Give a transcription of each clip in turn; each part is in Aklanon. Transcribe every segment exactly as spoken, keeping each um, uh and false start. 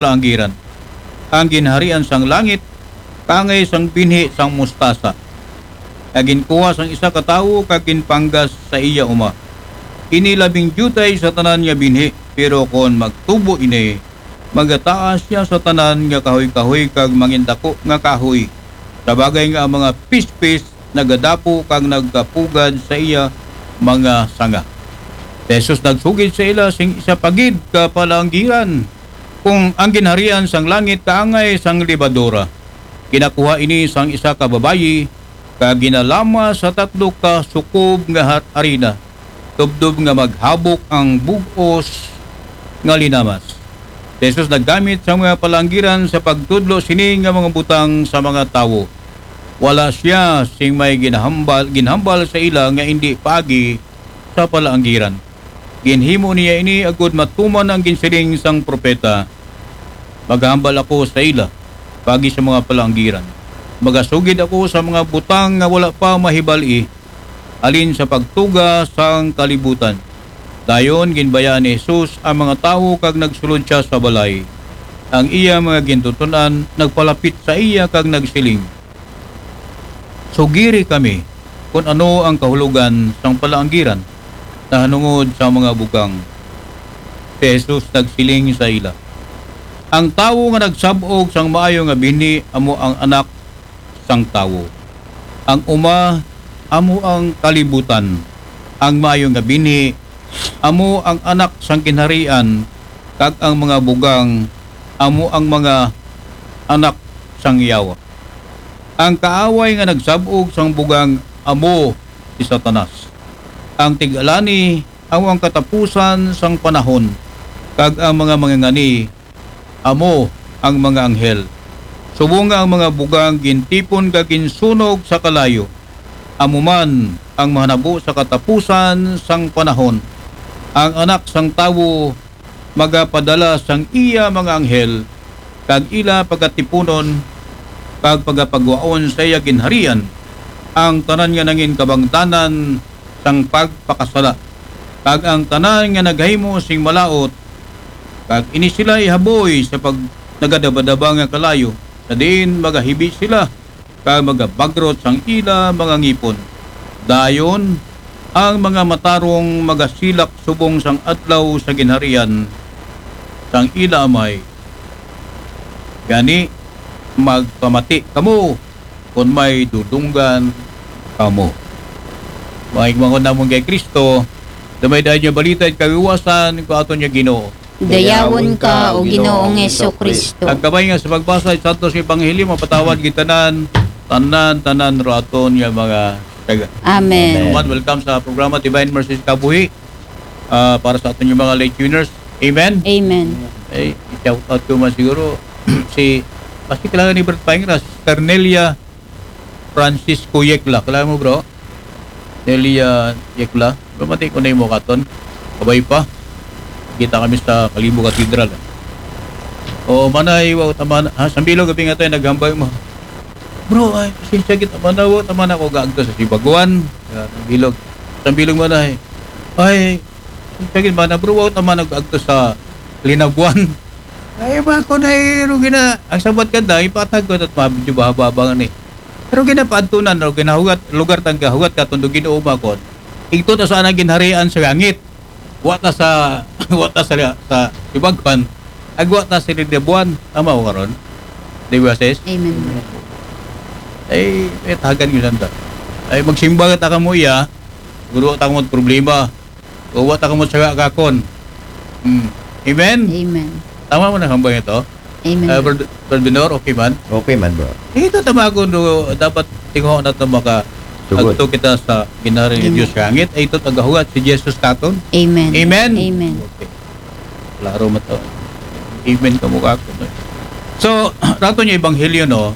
palanggiran. Ang ginharian sang langit kaangay sang binhi sang mustasa, nga ginkuha sang isa ka tawo kag ginpanggas sa iya uma. Ini labing diyutay sa tanan nga binhi, pero kon magtubo ini, magataas siya sa tanan nga kahoy-kahoy kag mangindako nga kahoy. Sa bagay nga ang mga pispis nagadapo kag nagkapugad sa iya mga sanga. Si Jesus nagsugid sa ila sing isa pa gid ka palanggiran, kung ang ginharian sang langit kaangay sang lebadura. Ginakuha ini sang isa ka babayi, kag ginalama sa tatlo ka sukob nga har-, harina, tubtob nga maghabok ang bug-os nga linamas. Si Jesus naggamit sa mga palanggiran sa pagtudlo sini nga mga butang sa mga tawo. Wala siya sing may ginahambal, ginhambal sa ila nga indi paagi sa palanggiran. Ginhimo niya ini agud matuman ang ginsiling sang propeta. Maghambal ako sa ila paagi sa mga palanggiran. Magasugid ako sa mga butang nga wala pa mahibal-i, halin sa pagtuga sang kalibutan. Dayon ginbayaan ni Jesus ang mga tawo kag nagsulod siya sa balay. Ang iya mga gintuton-an nagpalapit sa iya kag nagsiling, "Sugiri kami kon ano ang kahulogan sang palanggiran nahanungod sa mga bugang." Si Jesus nagsiling sa ila, "Ang tawo nga nagsab-og sang maayo nga binhi amo ang Anak sang Tawo. Ang uma amo ang kalibutan. Ang maayo nga binhi amo ang anak sang ginharian, kag ang mga bugang amo ang mga anak sang yawa. Ang kaaway nga nagsab-og sang bugang amo si Satanas. Ang tig-alani amo ang katapusan sang panahon, kag ang mga mangangani amo ang mga anghel. Subong nga ang mga bugang gintipon kag ginsunog sa kalayo, amo man ang mahanabo sa katapusan sang panahon. Ang Anak sang Tawo magapadala sang iya mga anghel, kag ila pagatipunon kag pagapagwaon sa iya ginharian ang tanan nga nangin kabangdanan sang pagpakasala, kag ang tanan nga naghimo sing malaut, kag ini sila ihaboy sa pag-, nagadabadaba nga kalayo, sa diin magahibi sila kag magabagrot sang ila mga ngipon. Dayon, ang mga matarong magasilak subong sang adlaw sa ginharian sang ila Amay. Gani, magpamati kamo kon may dudunggan kamo." Mga igmangkon namon kay Kristo, damay dayon nga balita it kaluwasan ko aton nga Ginoo. Dayawon ka, O Ginoong Jesucristo. Ang kabay nga sa pagbasa sa Santos nga Ebanghelyo, mapatawad kita tanan, tanan, tanan ro aton nga mga taga. Amen. Amen. Welcome sa programa Divine Mercy sa Kabuhi. Ah, para sa aton nga mga late tuners. Amen? Amen. Eh, shout out ko man siguro si, basta kilala ni Bert Paingra, si Ternelia Francisco Yekla. Kilala mo, bro? Nelia Yekla. Pamati ko na yung mukha ton. Kabay pa. Kita kami sa Kalibo Cathedral. O, manay, wa ta man, ha, sambilog abi nga tayo, naghambal mo. Bro, ay, pasensya kita, manay, wa ta man ako gaagto sa Sibaguan. Yan, sambilog. Sambilog, manay. Ay, pasensya gid, manay, bro, wa ta man ako gaagto sa Linabuan. Ay, ba ko na, eh, rugi na. Ang sabat ka na, ipatag ko na, medyo bahaba-haba nga ni. Pero ginapaadtunan, no, ginahugat, lugar tang gahugat ka, tundog Ginoo ba kon. Igto ta sa anang ginharian sa langit. Wa ta sa, wa ta sa, sa Sibaguan. Agwa ta sa Linabuan. Tama ko karon? Di ba, sis? Amen. Ay, may tagan yun lang ta. Ay, magsimba ta kamo iya. Siguro ta kamo problema. O wa ta kamo tsaga kakon. Hmm. Amen? Amen. Tama mo na hambang ito? Amen. Ah, Brad-, Brad Benor, okay man? Okay man, bro. Ito tama ko, no, dapat tinguha na ito maka Sugod. Agto kita sa ginharian ni Amen. Diyos sa langit. Ay ito tagahugat si Jesus katon. Amen. Amen? Amen. Okay. Klaro mo to. Amen ka mo kako. So, rato niya ebanghelyo, no?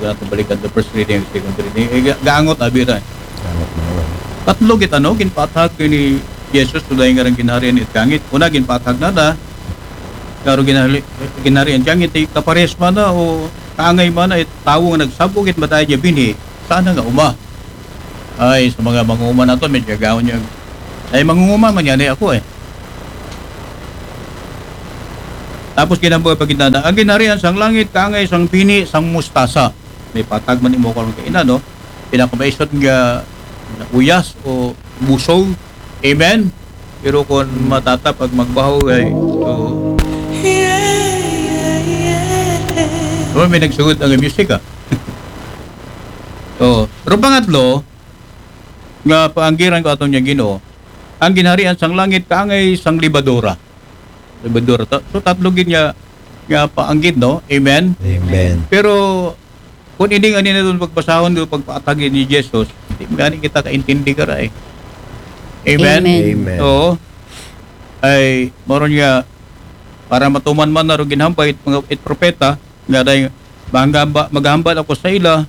Huwag natin balikan the first reading, second reading. Eh, ga-, gaangot, abi ra. Gaangot na, bro. Tatlo gid, ano, ginpaathag ni Jesus, tuday nga rang ginharian it langit. Una, ginpaathag na na. Klaro ginhari-, ginharian it langit, eh, kapares man na, o kaangay man na, it tawo nga nagsab-og it madaya niya binhi, sana nga uma. Ay, sa mga mangunguma nato, medyo gawon niya. Ay, mangunguma man yan, eh, ako, eh. Tapos ginhambal pa gid nana, ang ginharian sang langit kaangay sang bini sang mustasa. May patag man imo karon kaina, no? Pinakamaisog nga uyas o busog. Amen? Pero kung matatap ag magbaho ay, so, oh, may nagsugod ang music, ah. Oh, pero pangatlo, nga paanggiran ko aton nga Ginoo, ang ginharian sang langit kaangay sang libadura. Libadura. Ta-, so tatlo gid nga, nga paanggid, no? Amen? Amen. Pero kung hindi nga nila doon pagbasahon, doon pagpaatagin ni Jesus, di nga ni kita kaintindi ka ra eh. Amen? Amen. Amen. Oo. Ay, moron nga, para matuman man na ro ginhambal it mga, it propeta, nga day, maghamba-, maghambal ako sa ila,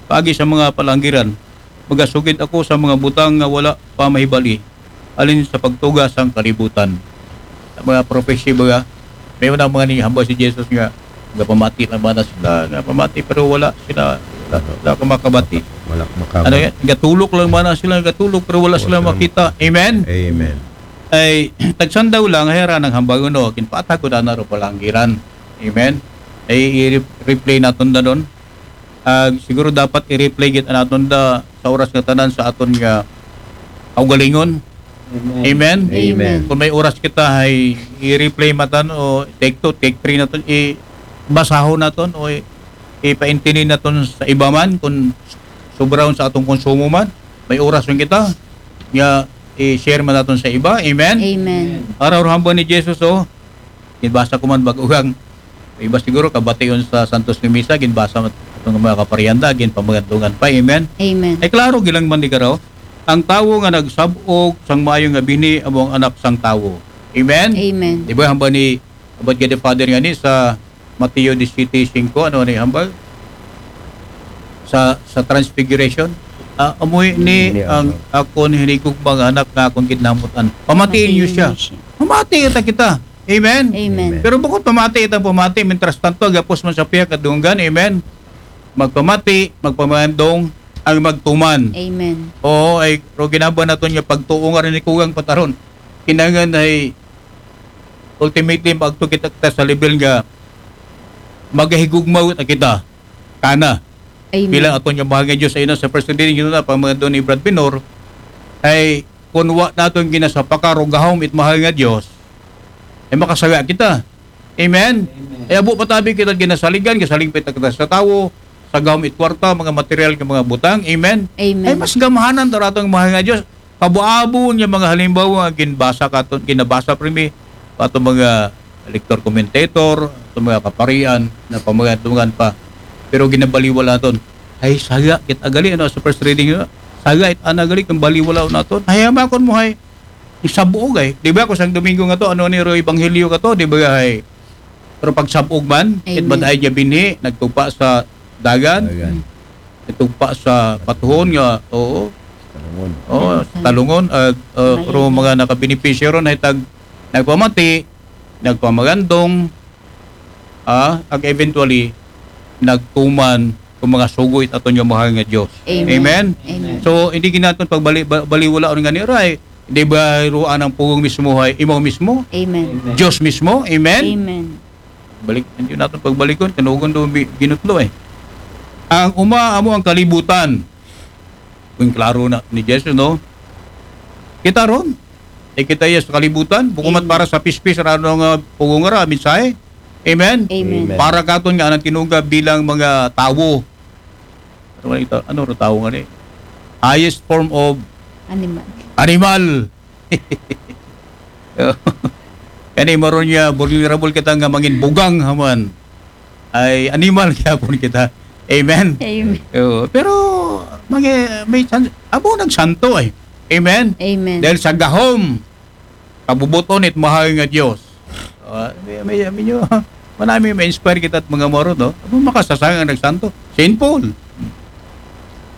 paagi sa mga palanggiran. Magasugid ako sa mga butang nga wala pa mahibali, alin sa pagtuga sang kalibutan. Sa mga prophecy ba, may una mga nihambal si Jesus nga, nga pamati lang man na sila, nga pamati pero wala sila, wala, wala ka makabati. Wala makabati. Ano yan? Gatulok lang man na sila, gatulok pero wala sila makita. Amen? Amen. Ay, tagsandaw lang, hera ng hambal, no? Ginpatag ko na ro palanggiran. Amen? Ay, i-replay naton da doon. Ah, siguro dapat i-replay gid naton da sa oras nga tanan sa aton nga kaugalingon. Amen. Amen? Amen. Kung may oras kita, ay i-replay matan o take two, take three naton, i-, basahon naton o i-, ipaintindi naton sa iba man kung sobrahon sa atong konsumo man. May oras man kita, nga i-share man naton sa iba. Amen? Amen. Araw hambal ni Jesus, oh. Ginbasa ko man bag-o ang iba siguro kabation sa Santos ni Misa, ginbasa man atong mga kaparian da, ginpamagandungan pa. Amen? Amen. Ay klaro, gilang man di karaw. Ang tawo nga nagsab-og sang maayo nga bini amo ang anak sang tawo. Amen? Amen. Di ba, hambal ni, hambal gid ni Father nga ni sa Mateo disisiete singko, ano ni hambal? Sa, sa Transfiguration. Ah, amoy ni ang akon hinigugma nga anak nga akon gid namutan. Pamatiin niyo siya. Pamatiin niyo siya. Mamati kita, kita. Amen? Amen. Amen. Pero bukod pamati, itang pamati, mientras tanto, gapos man sa pihak at dunggan, amen? Magpamati, magpamandong, ang magtuman. Amen. Oo, ay, pero ginaba naton nga pagtuo nga rin ikugang pataron. Kinangan ay ultimately, maagto kita, kita sa level nga magahigugmaw na kita. Kana. Amen. Bilang aton nga mahal nga Diyos, ayun na sa first reading, yun na, pamandong ni Brad Pinor, ay kung wa naton ginasapaka, rugahom it mahal nga Diyos, ay makasala kita. Amen? Amen. Ay abo patabi kita ginasaligan, gasalig pa kita sa tawo, sa gahom it kwarta, mga material nga mga butang. Amen? Amen. Ay mas gamahanan to ratong mahal nga Diyos. Kabuabon nga mga halimbawa nga ginbasa katon, ginabasa primi, pa atong mga lector commentator, atong mga kaparian, na pamagantungan pa. Pero ginabaliwala ton. Ay, saga, kit agali, ano, sa first reading, saga, it ana gali, kung baliwala naton. Ay, hamakon mo, hay, isabog, ay. Di ba, kung sang Domingo nga to, ano ni Roy Ebanghelyo ka to, di ba, ay? Pero pagsabog man, it Amen. Madaay niya binhi, nagtupa sa dagan, Dagan. Nagtupa sa patuhon nga, oo. Talungon. Oo, Sa talungon, ah, ah, Amen. Pero mga nakabenepisyo ron, ay tag, nagpamati, nagpamagandong, ah, ag eventually, nagtuman kung mga sugo it aton nga mahal nga Diyos. Amen. Amen? Amen. So, hindi ginaton pagbali-, ba-, baliwala nga ni Ray. Di ba, ruan ang pugong mismo hay, imaw mismo? Amen. Amen. Diyos mismo? Amen? Amen. Balik, hindi natin pagbalikon, kanugon do bi-, ginutlo eh. Ang uma, amo ang kalibutan. Kung klaro na ni Jesus, no? Kita ron. Eh, kita iya sa kalibutan. Bukumat Amen. Para sa pispis, rano nga pugong ra, mensahe. Amen? Amen. Amen. Para katon nga anang tinuga bilang mga tawo. Ano nga ito? Ano ro tawo nga ni? Highest form of Animal. Animal. Kani maron niya, vulnerable kita nga mangin bugang haman. Ay, animal gyapon kita. Amen? Amen. Oo. Pero, may, may chance, abo nagsanto eh. Amen? Amen. Dahil sa gahom, kabubuton it mahal nga Diyos. Ah, may, may, may nyo, manami ma-inspire kita at mga moro, no? Abo makasasang ang nagsanto. Saint Paul.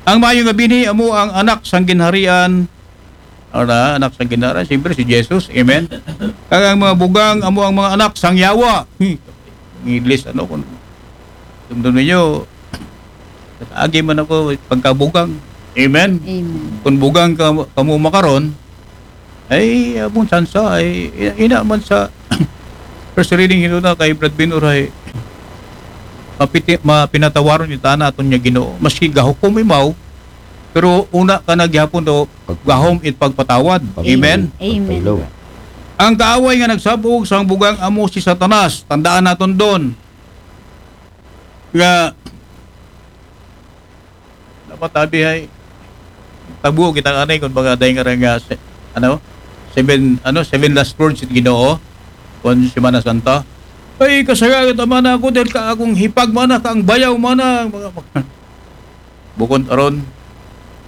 Ang mayo nga binhi, amo ang anak sang ginharian, Ara, anak sang Ginara, siyempre si Jesus. Amen? Kag ang mga bugang, amo ang mga anak sang yawa. Hmm. Ang English, ano, kung dumdum ninyo, agi man ako, pagkabugang. Amen? Amen. Kung bugang ka, kamo makaron, ay, among sansa, ay, ina, ina man sa, First reading hino na kay Brad Bin Uray. Mapiti, mapinatawaron ni tana aton niya Ginoo. Maski gahukom imaw, pero una ka na gihapon do gahom it pagpatawad. Amen. Amen. Ang kaaway nga nagsabog sang bugang amo si Satanas. Tandaan naton doon nga napatabi ay tabo kita anay kung mga day nga rin nga se- ano seven ano seven last words it Ginoo kung Semana Santa. Ay, kasagaran naman ako dahil ka akong hipag mana, ka ang bayaw mana, mga bukon aron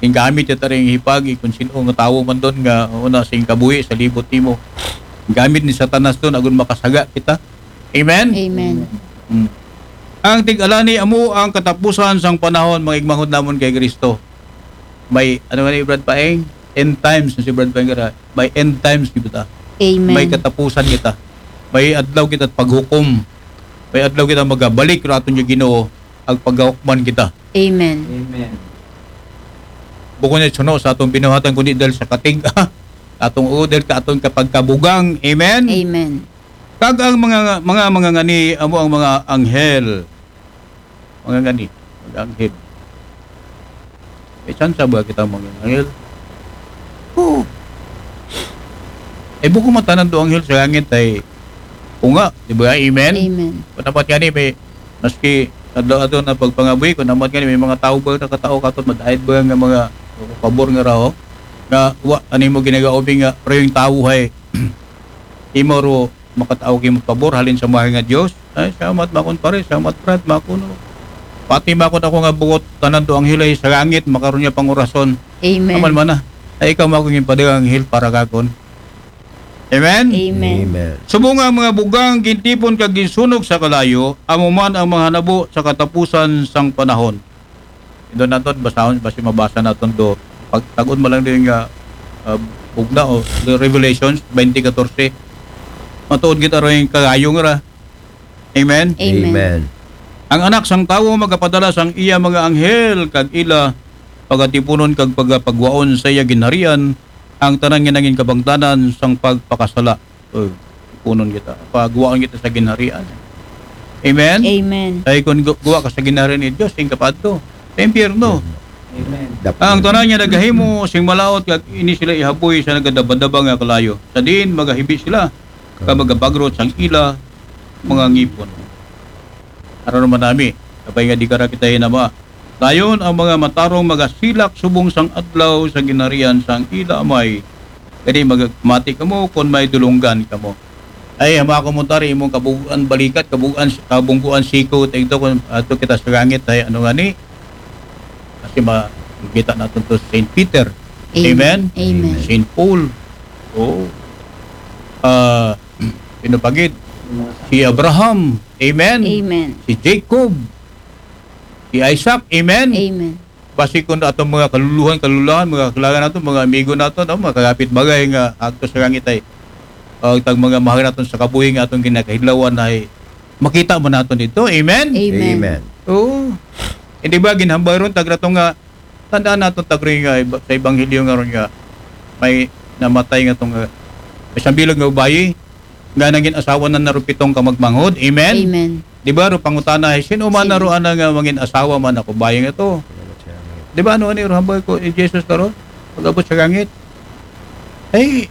ing gamit ya taring hipag, kung sino nga tawo man doon nga una sing kabuhi sa libot nimo. Gamit ni Satanas doon agon makasaga kita. Amen. Amen. Mm. Ang tig-alani amo ang katapusan sang panahon, mga igmahod namon kay Kristo. May ano nga ni Brad Paeng? End times na si Brad Paeng gara. May end times kita. Amen. May katapusan kita. May adlaw kita paghukom. May adlaw kita magabalik ra aton yung Ginoo ag pagahukman kita. Amen. Amen. Bukon na suno sa atong binuhatan kundi dahil sa katig atong uo dahil ka atong kapagkabugang. Amen. Amen. Kag ang mga mga mga ngani amo ang mga anghel. Mga ngani, mga anghel. May chance ba kita mga anghel? Oo. Eh, buko matanan do anghel sa langit ay unga, di ba? Amen? Amen. Kung dapat gani may maski adlaw-adlaw na pagpangabuhi, kung dapat gani may mga tao ba nakatao katon madahid ba nga mga pabor nga raho nga wa ani mo ginagaobi nga pero yung tao hay imo ro makatao kay mo pabor halin sa mahal nga Dios. Ay, salamat makon pare, salamat Brad, makuno. Pati makon ako nga buot tanan to anghel ay sa langit makaron niya pangurason. Amen. Aman mana. Ay ikaw makon yung padagang anghel para kakon. Amen. Amen. Subong nga ang mga bugang gintipon kag ginsunog sa kalayo, amo man ang mga hanabo sa katapusan sang panahon. Ito naton basahon basi mabasa naton do. Pagtagon mo lang din nga uh, bugna o the Revelations twenty fourteen. Matuod kita rin kalayo nga ra. Amen. Amen. Ang anak sang tawo magapadala sang iya mga anghel kag ila pagatipunon kag pagapagwaon sa iya ginharian ang tanan nga nangin kabangdanan sang pagpakasala. Oh, ipunon kita. Pagwaon kita sa ginharian. Amen. Amen. Ay kung gu- guwa ka sa ginharian ni Dios, sing kapadto sa impyerno. Amen. Ang tanan niya nagahimo sing malaot kag ini sila ihaboy sa nagadabadaba nga kalayo. Sa diin magahibi sila ka magabagrot sang ila mga ngipon. Aron naman nami, kapay nga di kara kita hinama. Dayon ang mga matarong magasilak subong sang adlaw sa ginharian sang ila amay. Kadi magmati kamo kon may dulunggan kamo. Ay, hama ko mo tari imong kabuguan balikat, kabuguan kabungguan siko tigto kon ato kita sa langit ay ano nga ni. Kasi makita natin to Saint Peter. Amen. Amen. Saint Paul. Oh. Ah, pinapagid si Abraham. Amen. Amen. Si Jacob. Si Isaac. Amen. Amen. Basi kung atong mga kaluluhan, kaluluhan, mga kailangan nato, mga amigo nato, no? Mga kagapit bagay nga agto sa langit ay uh, tag mga mahal naton sa kabuhi nga atong ginakahidlawan ay makita mo naton dito. Amen? Amen. Oo. Hindi ba ginhambal ron tag rato nga tandaan naton tag rin nga iba- sa ebanghelyo nga ron nga may namatay nga tong uh, may sambilog nga babayi nga nangin asawa na narupitong ka magmanghod. Amen? Amen. Di ba ro pangutana ay sino man Sino? na ro ana nga mangin asawa man ako bayi nga to? Di ba ano ani ro hambal ko ni Jesus na ro? Pag-abot sa langit. Ay,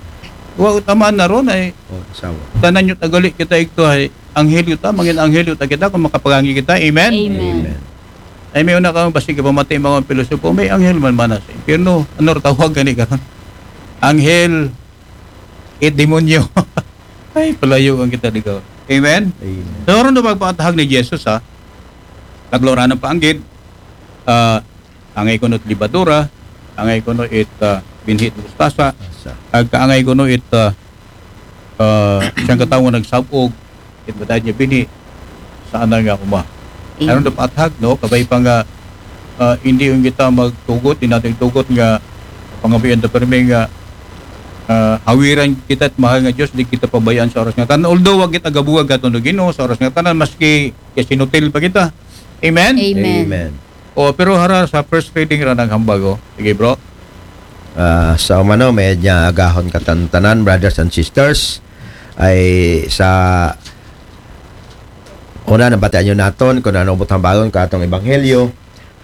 wa taman na ron ay Oh, asawa. tanan nyo tagali kita igto ay anghel yuta, mangin anghel yuta kita kung makapagangi kita. Amen? Amen. Ay may una ka basi ka pamati mga pilosopo, may anghel man mana sa impyerno. Ano ro tawag gani karon? Anghel, it demonyo. Ay, palayo ang kita digaw. Amen? Amen. So, ron na pagpaatahag ni Jesus ha. Naglauranan pa ang gid. Ah, angay kuno it libadura, angay kuno it ah, binhi it mustasa, Asa. ag kaangay kuno it ah, ah, siyang katawo nagsabog, it matay niya binhi, saan na nga kuma. Amen. Aron dapat hag, no? Kabay pa nga ah, hindi yung kita magtugot, hindi natin tugot nga pangabuyan ta permi nga ah, hawiran kita at mahal nga Diyos, di kita pabayaan sa oras nga tanan. Although wag kita gabuwag ato no Ginoo sa oras nga tanan, maski kasinutil pa kita. Amen? Amen. Amen. O, pero hara sa first reading ra ng hambag, oh. Sige, bro. Ah, sa umano, medya agahon katantanan, brothers and sisters, ay sa Una, nabatian nyo naton kung ano butang bagon ka atong ebanghelyo.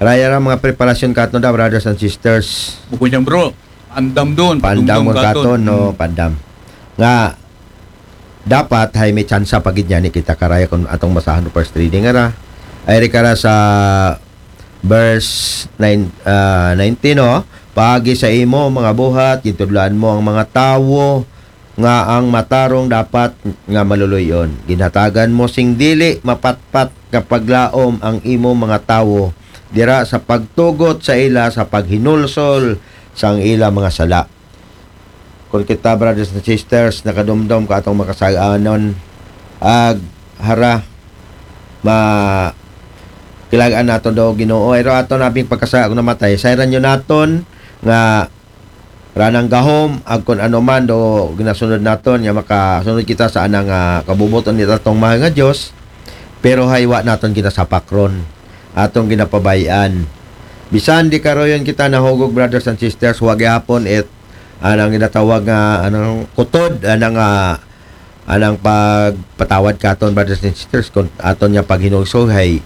Raya ra mga preparasyon katon da, brothers and sisters. Bukod niyan, bro, andam doon. Pandam Padumdum mo katon, no? Hmm. Pandam. Nga, dapat hay may tsansa pa gid niya ni kita karaya kung atong basahan ng first reading ara. Ay ri kara sa verse nine, ah, nineteen, no? Paagi sa imo mga buhat, gintudloan mo ang mga tawo nga ang matarong dapat nga maluluy-on. Ginhatagan mo sing dili mapatpat nga paglaom ang imo mga tawo dira sa pagtugot sa ila sa paghinulsol sang ila mga sala. Kung kita, brothers and sisters, nakadumdom ka atong makasaganon, ag hara, ma kilagaan nato do Ginoo. Pero ato nabing pagkasala kung namatay, sayran nyo naton nga ranang gahom, ag kung ano man do ginasunod naton, nga makasunod kita sa anang, ah, kabubuton ni atong mahal nga Dios. Pero hay wa naton ginasapak ron, atong ginapabayan. Bisan di karoyon kita nahugog, brothers and sisters, wa gihapon it anang ginatawag nga anang kutod, anang, ah, anang pagpatawad katon, brothers and sisters, kung aton nga paghinulsol hay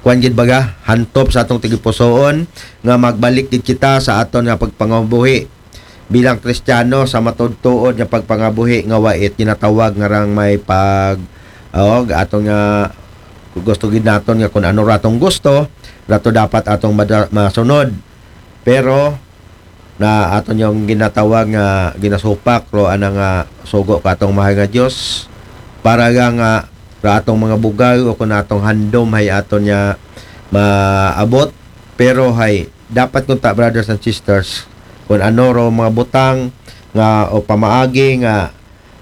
kuan gid baga, hantop sa atong tigipusoon nga magbalik gid kita sa aton nga pagpangabuhi bilang Kristiyano sa matudtuod nga pagpangabuhi nga wait ginatawag nga rang may pag, oh, aton nga gusto gid naton nga kung ano ratong gusto, rato dapat atong mada- masunod. Pero na aton yung ginatawag nga ginasupak ro anang nga sugo ka atong mahal nga Dios para nga, nga ra atong mga bugal o kung atong handom hay aton nga maabot. Pero hay dapat kung ta, brothers and sisters, kung ano ro mga butang nga o pamaagi nga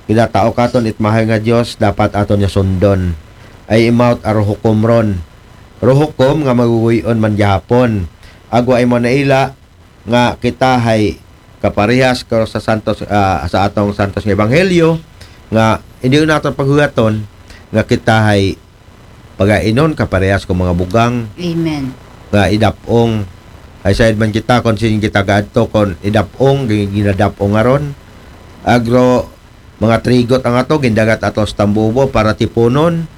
ginatao katon it mahal nga Dios, dapat aton nga sundon. Ay imaw it aro hukom ron. Ro hukom nga maguguyon man gihapon. Agwa imo naila nga kita hay kaparehas ko sa santos, ah, sa atong santos nga ebanghelyo nga hindi nato paghugaton nga kita hay pagainon kaparehas ko mga bugang Amen. nga idapong. Ay sayad man kita kung sin kita gaadto kung idapong, gi- ginadapong aron. Agro, mga trigot ang ato, gindagat ato sa tambubo para tipunon,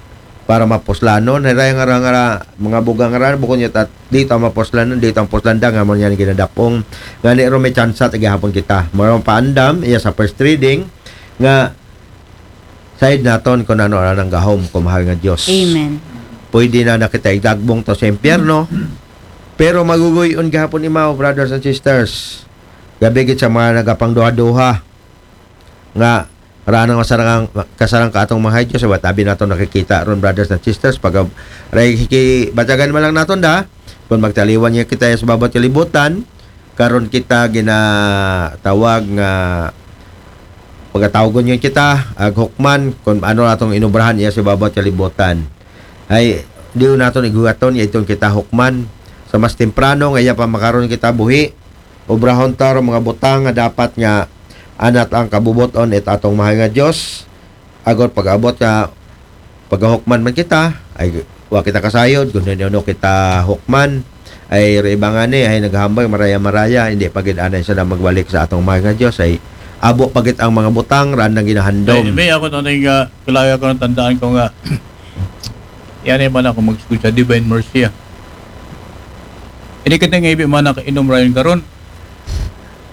para mapuslanon. Hay raya nga ra, nga ra, mga bugang nga ra, bukod niya tat, di ta mapuslanon, di ta mapuslanda, nga mo niya ginadapong. Nga ni ro may tsansa, tagi hapon kita. Marang paandam, iya sa first reading, nga sayad naton kung ano anang gahom, kung mahal nga Dios. Amen. Pwede na na kita idagbong to sa impyerno, pero maguguyon gihapon imaw, brothers and sisters. Gabi gid sa mga nagapangduha-duha nga ranang masarang kasarang ka atong mga Diyos, wa tabi nato nakikita ron, brothers and sisters, pag ray ki batagan man lang naton da, kung magtaliwan niya kita sa babaw kalibutan, karon kita ginatawag nga pagatawgon yun kita, ag hukman, kung ano atong inubrahan iya sa babaw kalibutan. Ay, di naton igugaton, ya itong kita hukman. Sa mas temprano, nga iya pa makaron kita buhi, obrahon ta ro mga butang nga dapat nga anat ang kabubuton it atong mahal nga Dios. Agor pag-abot nga pagahukman man kita, ay wa kita kasayod kung ano kita hukman. Ay riba nga ni, ay naghambal, maraya-maraya, hindi pa gid anay sila magbalik sa atong mahal nga Dios. Ay abo pa gid ang mga butang, raan nang ginahandom. Ay, may ako na nga, kilaya ko ng tandaan ko nga. Yan ay man ako mag-school sa Divine Mercy, ah. Hindi ka nga ibi man nakainom rayon karon.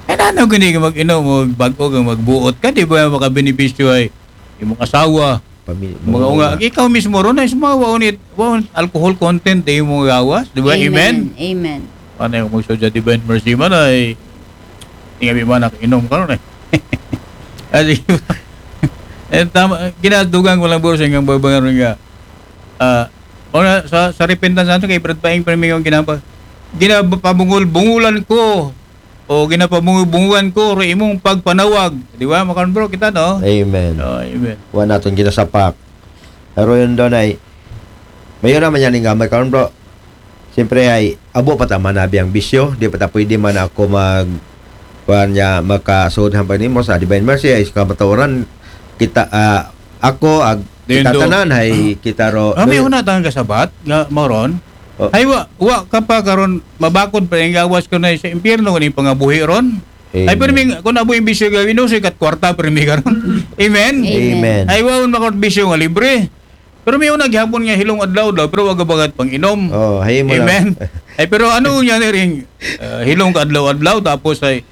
Ay, nanaw gini ka mag-inom, magbago ka, magbuot ka, di ba makabenepisyo ay imong asawa? Pami- Mga unga, ikaw mismo ron ay sumawa unit, wa alcohol content ay imong gawas, di ba? Amen. Amen. Ano yung magsuot sa Divine Mercy man ay, hindi nga man nakainom karon eh. Kasi, eh, tama, ginadugang ko lang, bro, sa inyong babangaron nga. Ah, o na, sa, sa repentance nato kay Brad Paing, pero may ginapa-, ginapabungol-bungulan ko, o ginapabungol-bungulan ko, ro imong pagpanawag. Di ba, makaron, bro, kita, no? Amen. Oh, amen. Wa naton ginasapak. Pero yun doon ay, mayon naman yan yung gamay karon, bro. Siyempre ay, abo pa ta manabi ang bisyo, di pa ta pwede man ako mag, kuan niya, makasud hambal nimo sa Divine Mercy, ay sa kamatuoran, kita, ah, ako, ag, Di yun kita do. Tanan, ay, kita ro. Ah, may una tang kasabat, nga moron. Oh. Ay, wa, wa ka pa karon mabakod pa yung gawas ko na sa impyerno, kung yung pangabuhi ron. Ay, Amen. pero may, kung abo yung bisyo gawin, no, sikat kwarta, pero may karon. Amen? Amen. Ay, wa, makot bisyo nga libre. Pero may una gihapon nga hilong adlaw daw, pero wala bakat pang-inom. Oh, hay mo lang. Amen. Ay, pero ano niya ni ring, ah, hilong ka adlaw-adlaw, tapos ay,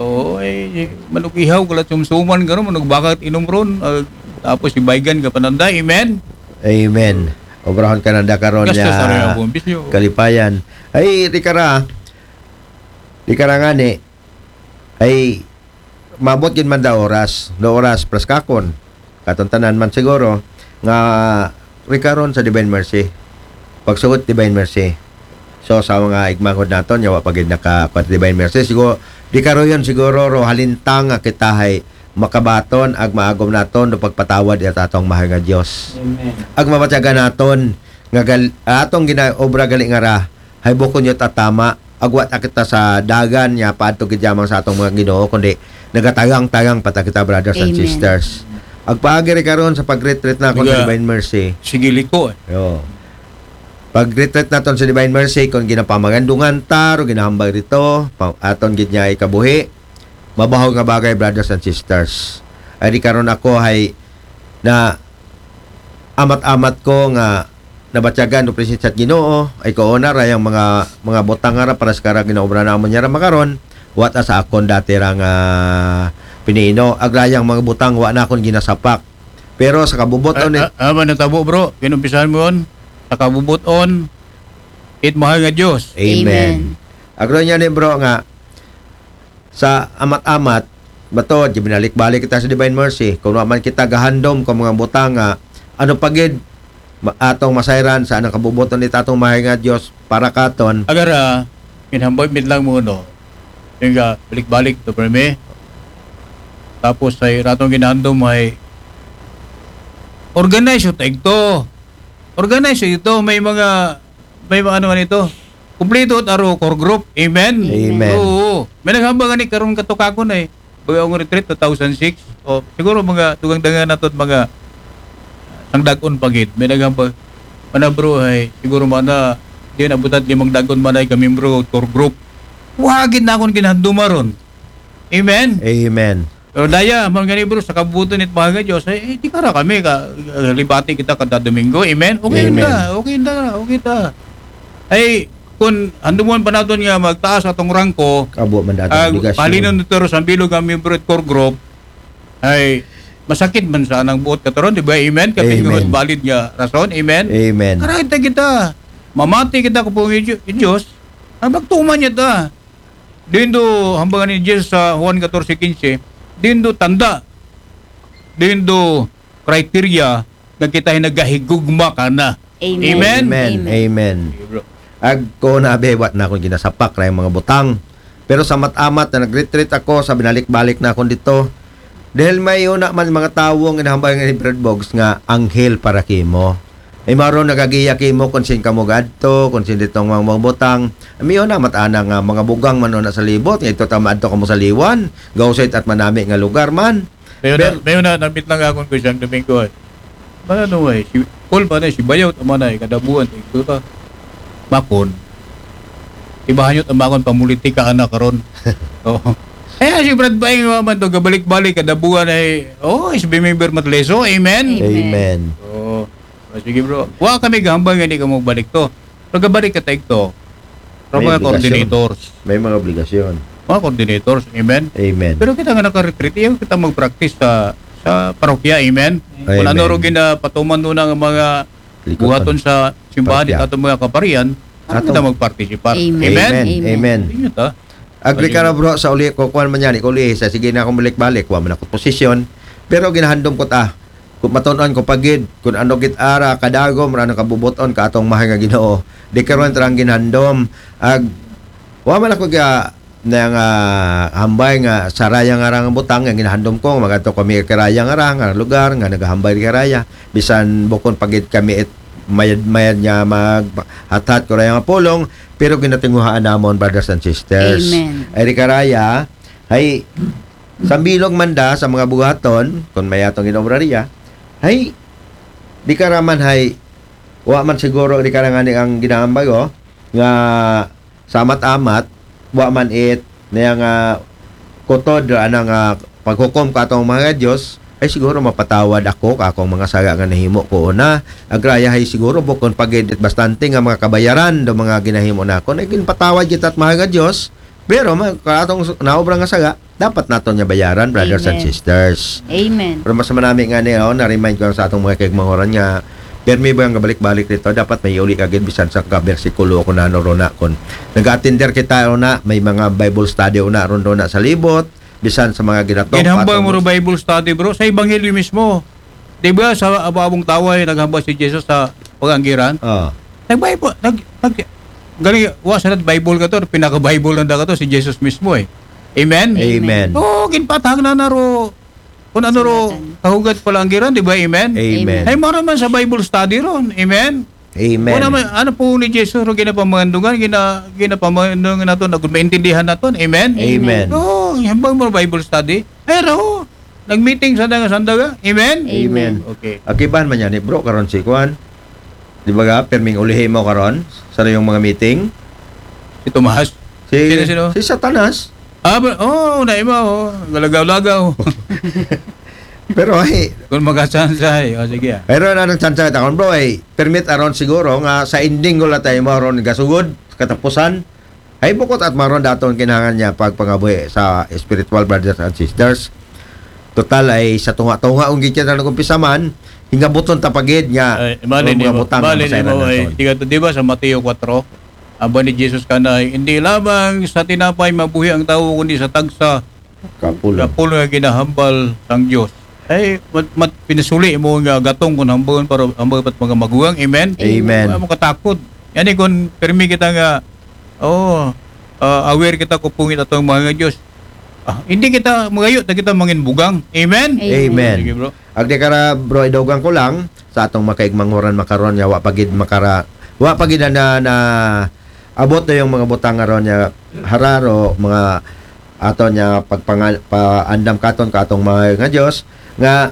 oh, ay, manug-ihaw ka lang sumsuman, gano'n, manug-bakat inom ron, ah, tapos si Baygan ka pananda, amen. Amen. Obrahon ka nanda karon. Gastos niya sa rin ang buong bisyo. Kalipayan. Ay, di ka ra. Di ka ra nga ni. Ay, mabot gid man da oras, do oras, preskakon. Katon tanan man siguro, nga rikaron sa Divine Mercy. Pagsugot Divine Mercy. So, sa mga igmanghod naton, yawa pa gid naka, kuwan, Divine Mercy. Siguro, di karoyon siguro, ro, halintang nga kita hay makabaton, ag maagom naton, do pagpatawad it atong mahal nga Diyos. Amen. Ag mabatyagan naton, nga gal-, atong gina-, obra gali nga ra, hay bukon yun tatama, agwat na kita sa dagan niya, paadto gid yamang sa atong mga Ginoo, kundi nagatagang-tagang pa ta kita, brothers and sisters. Agpaagi rin karon sa pag-retreat na ako sa Divine Mercy. Sige, liko eh. Yo. Pag-retreat naton sa Divine Mercy, kung ginapamagandungan ta, o ginahambal dito, pa-, aton gid niya ikabuhi, mabaho nga bagay, brothers and sisters. Ay di karon ako hay na amat-amat ko nga nabatyagan do presensya sa Ginoo, ay ko una ra yang mga, mga butang nga ra para sa kara ginaobra namon niya ra makaron, wa ta sa akon dati ra nga pinino, ag rayang mga butang wa na akon ginasapak. Pero sa kabubot-on ni ah, ah, natabo, bro, kinumpisahan mo yun, sa kabubot-on, it mahal nga Diyos. Amen. Amen. Agro niya ni bro nga, sa amat-amat, bato, di binalik-balik kita sa Divine Mercy. Kung wa man kita gahandom kung mga butang nga, ano pa gid, ma-, atong masayran sa anang kabubuton ni tatong mahay nga Diyos para katon. Agara, minhamboy mit lang mo, no? Yung nga, balik-balik to, permi. Tapos, ay ratong ginahandom, ay organize yung taigto. Organize yung ito. May mga, may mga ano nga nito. Kumplito at aro core group. Amen? Amen. Oo. May naghambang nga ni karon katukakon eh. Baga akong retreat, two thousand six. O, siguro mga tugang dangan nato at mga sang dagon pa gid. May naghambang. Mana bro, ay, siguro mana, di na butat limang dagon mana ay kami bro, core group. Wa gid na akong ginahanduma ron. Amen? Amen. Pero daya, man gani bro, sa kabuto nit mahal nga Diyos, ay, eh, di kara kami, ka, libati kita kada Domingo. Amen? Okay Amen. Ta, okay ta, okay ta. Ay, kung handumon pa naton nga magtaas atong rangko, Abo man dati ag obligasyon. Palinon nito sa bilog ang miyembro at core group, ay masakit man sa anang buot kataron, di ba? Amen? Kapag Amen. Valid nga rason, amen? Amen. Karahit na kita, mamati kita kung pong Diyos, ang magtuman niya ta. Dindo, hambangan ni Jesus sa Juan fourteen fifteen, dindo tanda, dindo criteria nga kita ay nagahigugma ka na. Amen. Amen. Amen. Amen. Sige, bro. Ag ko na, be, wa na akong ginasapak ra yung mga butang. Pero sa mat-amat na nag-retreat ako, sa binalik-balik na akong dito. Dahil may una man mga tao nga inahambal nga ni Brad Boggs nga anghel para kimo. Ay maron nagagiya kimo kung sin kamo gadto, kung sin ditong mga, mga butang. May una, mat-ana nga mga bugang man una sa libot, nga ito ta maadto kamo sa liwan, gausit at manami nga lugar man. May una, Ber- may una, nabit lang akong ko isang Domingo, eh. Mana no, eh, si, Paul ba na, si Bayaw, tama na, eh, kadabuan, eh, ito ta. Makon. Ibahan nyo, tamakon, pamulitika, anak, karon. Oo. Eh, si Brad Baing, man to, gabalik-balik, kadabuan, eh, oh, is bimimber matleso, amen? Amen. Amen. Oo. O, sige, bro. Wa kami gahambal nga di ka magbalik to. Pero gabalik ka taig to. Pero May mga obligasyon. Coordinators. May mga obligasyon. Mga coordinators, amen? Amen. Pero kita nga naka-retreat, iyaw kita mag-practice sa, sa parokya, amen? Amen. Kung ano ro ginapatuman doon ang mga Likutan. Buhaton sa simbahan, Parokya. Ito mga kaparian, ano Atong kita mag-participate? Amen. Amen. Amen. Amen. Yun ta. Agree ka na, bro, sa uli ko, kuwan man yan, ikaw uli, sa sige na akong balik-balik, wa man ako posisyon. Pero ginahandom ko ta, kung matunon ko pagid, kung ano git ara, kadagom, ra nang kabubuton, ka atong mahal nga Ginoo. Di karon tarang ginhandom, ag, wa man ako ga, na nga hambay nga sa raya nga rang butang, nga ginahandom ko, magadto kami kay raya nga rang, nga lugar, nga nagahambay kay raya. Bisan bukon pagid kami it mayad-mayad nga maghathat ko raya nga pulong, pero ginatinguhaan namon, brothers and sisters. Amen. Ay, di karaya, hay, sambilog man da sa mga buhaton, kung may atong ginaobrariya, hay, di karaman, hay, wa man siguro, di karangani ang ginaambay, oh, nga sa amat-amat, wa man it, na nga kutod, ana nga paghukom ka atong mga Diyos, ay siguro mapatawad ako ka akong mga sala nga nahimo ko una. Agraya hay siguro bukon pagid bastante nga mga kabayaran do mga ginahimo nako. Ay ginpatawad kita at mahal nga Dios. Pero ma- ka atong s- naobra nga sala, dapat naton nga bayaran, brothers and Amen. Sisters. Amen. Pero mas manami nga niya, oh, na-remind ko lang sa atong mga kaigmangoran nga permi ba ang balik-balik nito, dapat may uli kagid bisan sa ka-bersikulo ko na ano, rona, kun nag-attender kita, rona, may mga Bible study una ron, rona, sa libot, bisan sa mga ginatok Ginhambal atong mo ro Bible study, bro, sa Ebanghelyo mismo. Di ba sa ababong taway, naghambal si Jesus sa paganggiran? Oh. Nag-Bible, nag, nag, galing, wa sa Bible ka to, pinaka-Bible na ka to, si Jesus mismo eh. Amen? Amen. Oo, ginpatahag na na ro, kung ano ro, Sulatan. Kahugat pala ang giran, di ba? Amen? Amen. Ay, mara man sa Bible study ron. Amen? Amen. Wala man, ano po ni Jesus ro ginapamandungan, gina, ginapamandungan naton, na maintindihan naton. Amen? Amen. Oo, hambal mo Bible study. Ay, raho. Nag-meeting sa nga sandaga. Amen? Amen. Okay. Akiban man yan, eh, bro, karon si Kwan. Di ba ga, perming ulihi mo karon sa iyong mga meeting? Si Tomas. Si, Sino, sino? Si Satanas. Ah, ba, oh, na iba, oh. Galagaw-lagaw. Pero ay, Kung magkasansa, eh. O, sige, ah. pero na ng chance takon, bro, ay permit aron siguro nga sa ending ko lang tayo maron gasugod, katapusan. Ay bukod at maron daton kinahanglan niya pagpangabuhi sa spiritual brothers and sisters. Total ay sa tunga-tunga ang gitya na nagkumpisa man, hingabuton tapagid nga Ay, mali ang ni mga mo, butang mali na ni mo, masayran ay, naton. tiga to, di ba, sa Mateo four, aba ni Jesus kana, hindi lamang sa tinapay mabuhi ang tao, kundi sa tagsa Kapulo. kapulo nga ginahambal sang Dios. Ay, mat, mat, pinasuli mo nga gatong kung hambal para hambal pat mga maguwang. Amen? Amen. Wala mo katakot. Yan eh, kung permi kita nga, oh, ah, aware kita kung pungit atong mga nga Dios. Ah, hindi kita magayo, ta kita mangin bugang. Amen? Amen. Sige, bro. Agdi kara, bro, idogan ko lang sa atong makaigmanguran makaron nga wa pagid makara wa pagid na, na abot na yung mga butang nga ron nga hararo, mga ato niya pagpanga- paandam katon ka atong mga nga Dios nga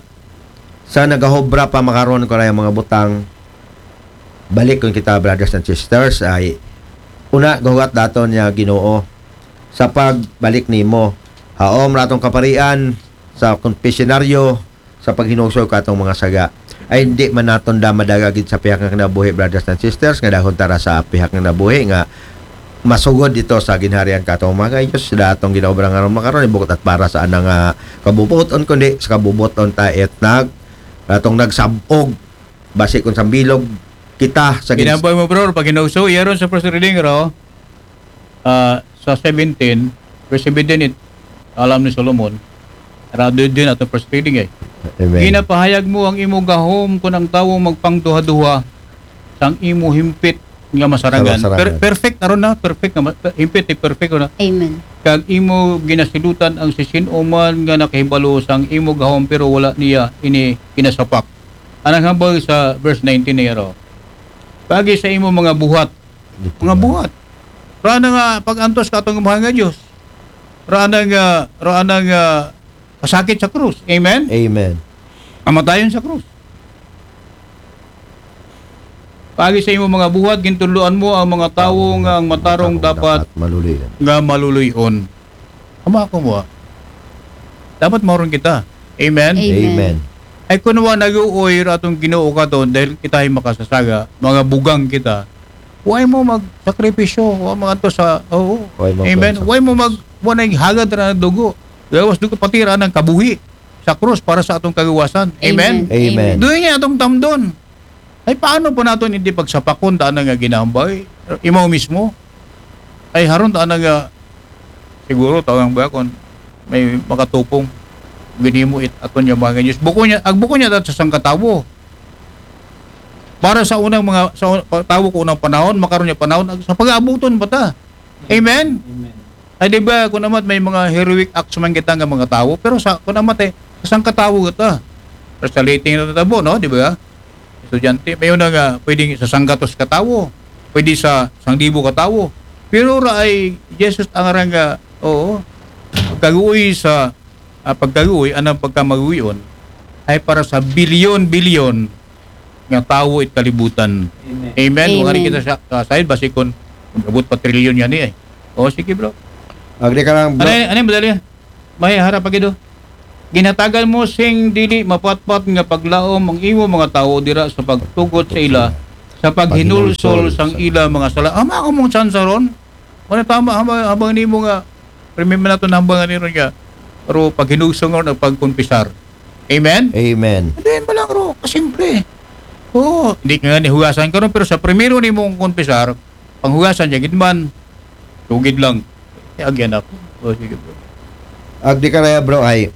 sa nagahobra pa makaron ko na yung mga butang. Balik kun kita, brothers and sisters, ay una gahugat daton niya Ginoo sa pagbalik nimo. Haom ratong kaparian sa konfesyonaryo sa paghinusog katong mga saga. Ay hindi man naton da madala gid sa pihak nga kinabuhi, brothers and sisters, nga dahon tara sa pihak nga kinabuhi nga masugod dito sa ginharian katong mga Diyos sa datong ginaobra nga ron makaron, ibukot at para sa anang ah, kabubuton, kundi sa kabubuton ta et nag atong nagsabog basi kung sambilog kita sa gin- Ginambal mo, bro, pag hinauso, yaron sa first reading, ro, ah, sa seventeen, verse seventeen, it, alam ni Solomon, rado din atong first reading eh. Amen. Ginapahayag mo ang imo gahom kung ang tawo magpangduha-duha sang imo himpit nga masarangan. Sa masarangan. Per- perfect aron na, perfect nga ma- himpit, eh, perfect na. Amen. Kag imo ginasilutan ang sisin-o man nga nakahibalo sang imo gahom, pero wala niya ini kinasapak. Anang hambal sa verse nineteen niya ro. Pagi sa imo mga buhat, mga buhat. Rana nga pag-antos ka atong mahal nga Dios. Rana nga, rana nga pasakit sa krus. Amen? Amen. Kamatayon sa krus. Pagi sa imo mga buhat, gintudloan mo ang mga tawo nga ang matarong dapat Maluloy. nga maluluy-on. Ama ko mo, ah. Dapat mauron kita. Amen? Amen. Amen. Ay kuno wa nag-uoy ra atong Ginoo katon dahil kita ay makasasaga, mga bugang kita. Way mo magsakripisyo, wa mo ato sa, oo. Way mo Amen. magsakripisyo. Way mo mag, wa na hagad ra ng dugo. Gawas dugo pati ra ng kabuhi sa krus para sa atong kagawasan. Amen. Amen. Doon niya atong tamdon. Ay paano po naton hindi pagsapakon ta nga ginambay? Imaw mismo. Ay haron ta nga siguro tawang ba kon may makatupong ginimo it aton nga mga Diyos. Buko niya, ag buko niya dahil sa sangkatawo. Para sa unang mga sa un- tawo ko unang panahon, makaron niya panahon, ag- sa pag-aabuton pa ta. Amen. Amen. Ay di ba kung amat may mga heroic acts man kita nga mga tawo, pero sa kung amat eh, sa sangkatawo kita. Pero sa liting na tabo, no, di ba? Estudyante, may una nga pwedeng sa sanggatos katawo, pwede sa sangdibo katawo. Pero ra ay Jesus ang arang nga, oo, pagkaguoy sa ah, pagkaguoy, anang pagkamaguyon ay para sa bilyon-bilyon nga tawo it kalibutan. Amen. Amen. Wala Amen. kita sa, sa side, basi kung abot pa trilyon yan eh. O, sige bro. Agdi ka lang, bro. Ano, ano yung madali? May harap pa gido. Ginhatagan mo sing dili mapatpat nga paglaom ang imo mga tawo dira sa pagtugot sa ila, sa paghinulsol sang ila mga sala. Ama ko mong tsansa ron. Wala tama, habang, habang nimo nga, remember nato na habang ni ron nga, pero paghinulsol ron ang pagkumpisar. Amen? Amen. Hindi, ba lang ro, kasimple. Oo, hindi ka nga nihugasan ka ron, pero sa primero ni mong kumpisar, panghugasan niya, gid man, tugid lang. Eh, agyan ako. O, sige bro. Ag di ka raya, bro, ay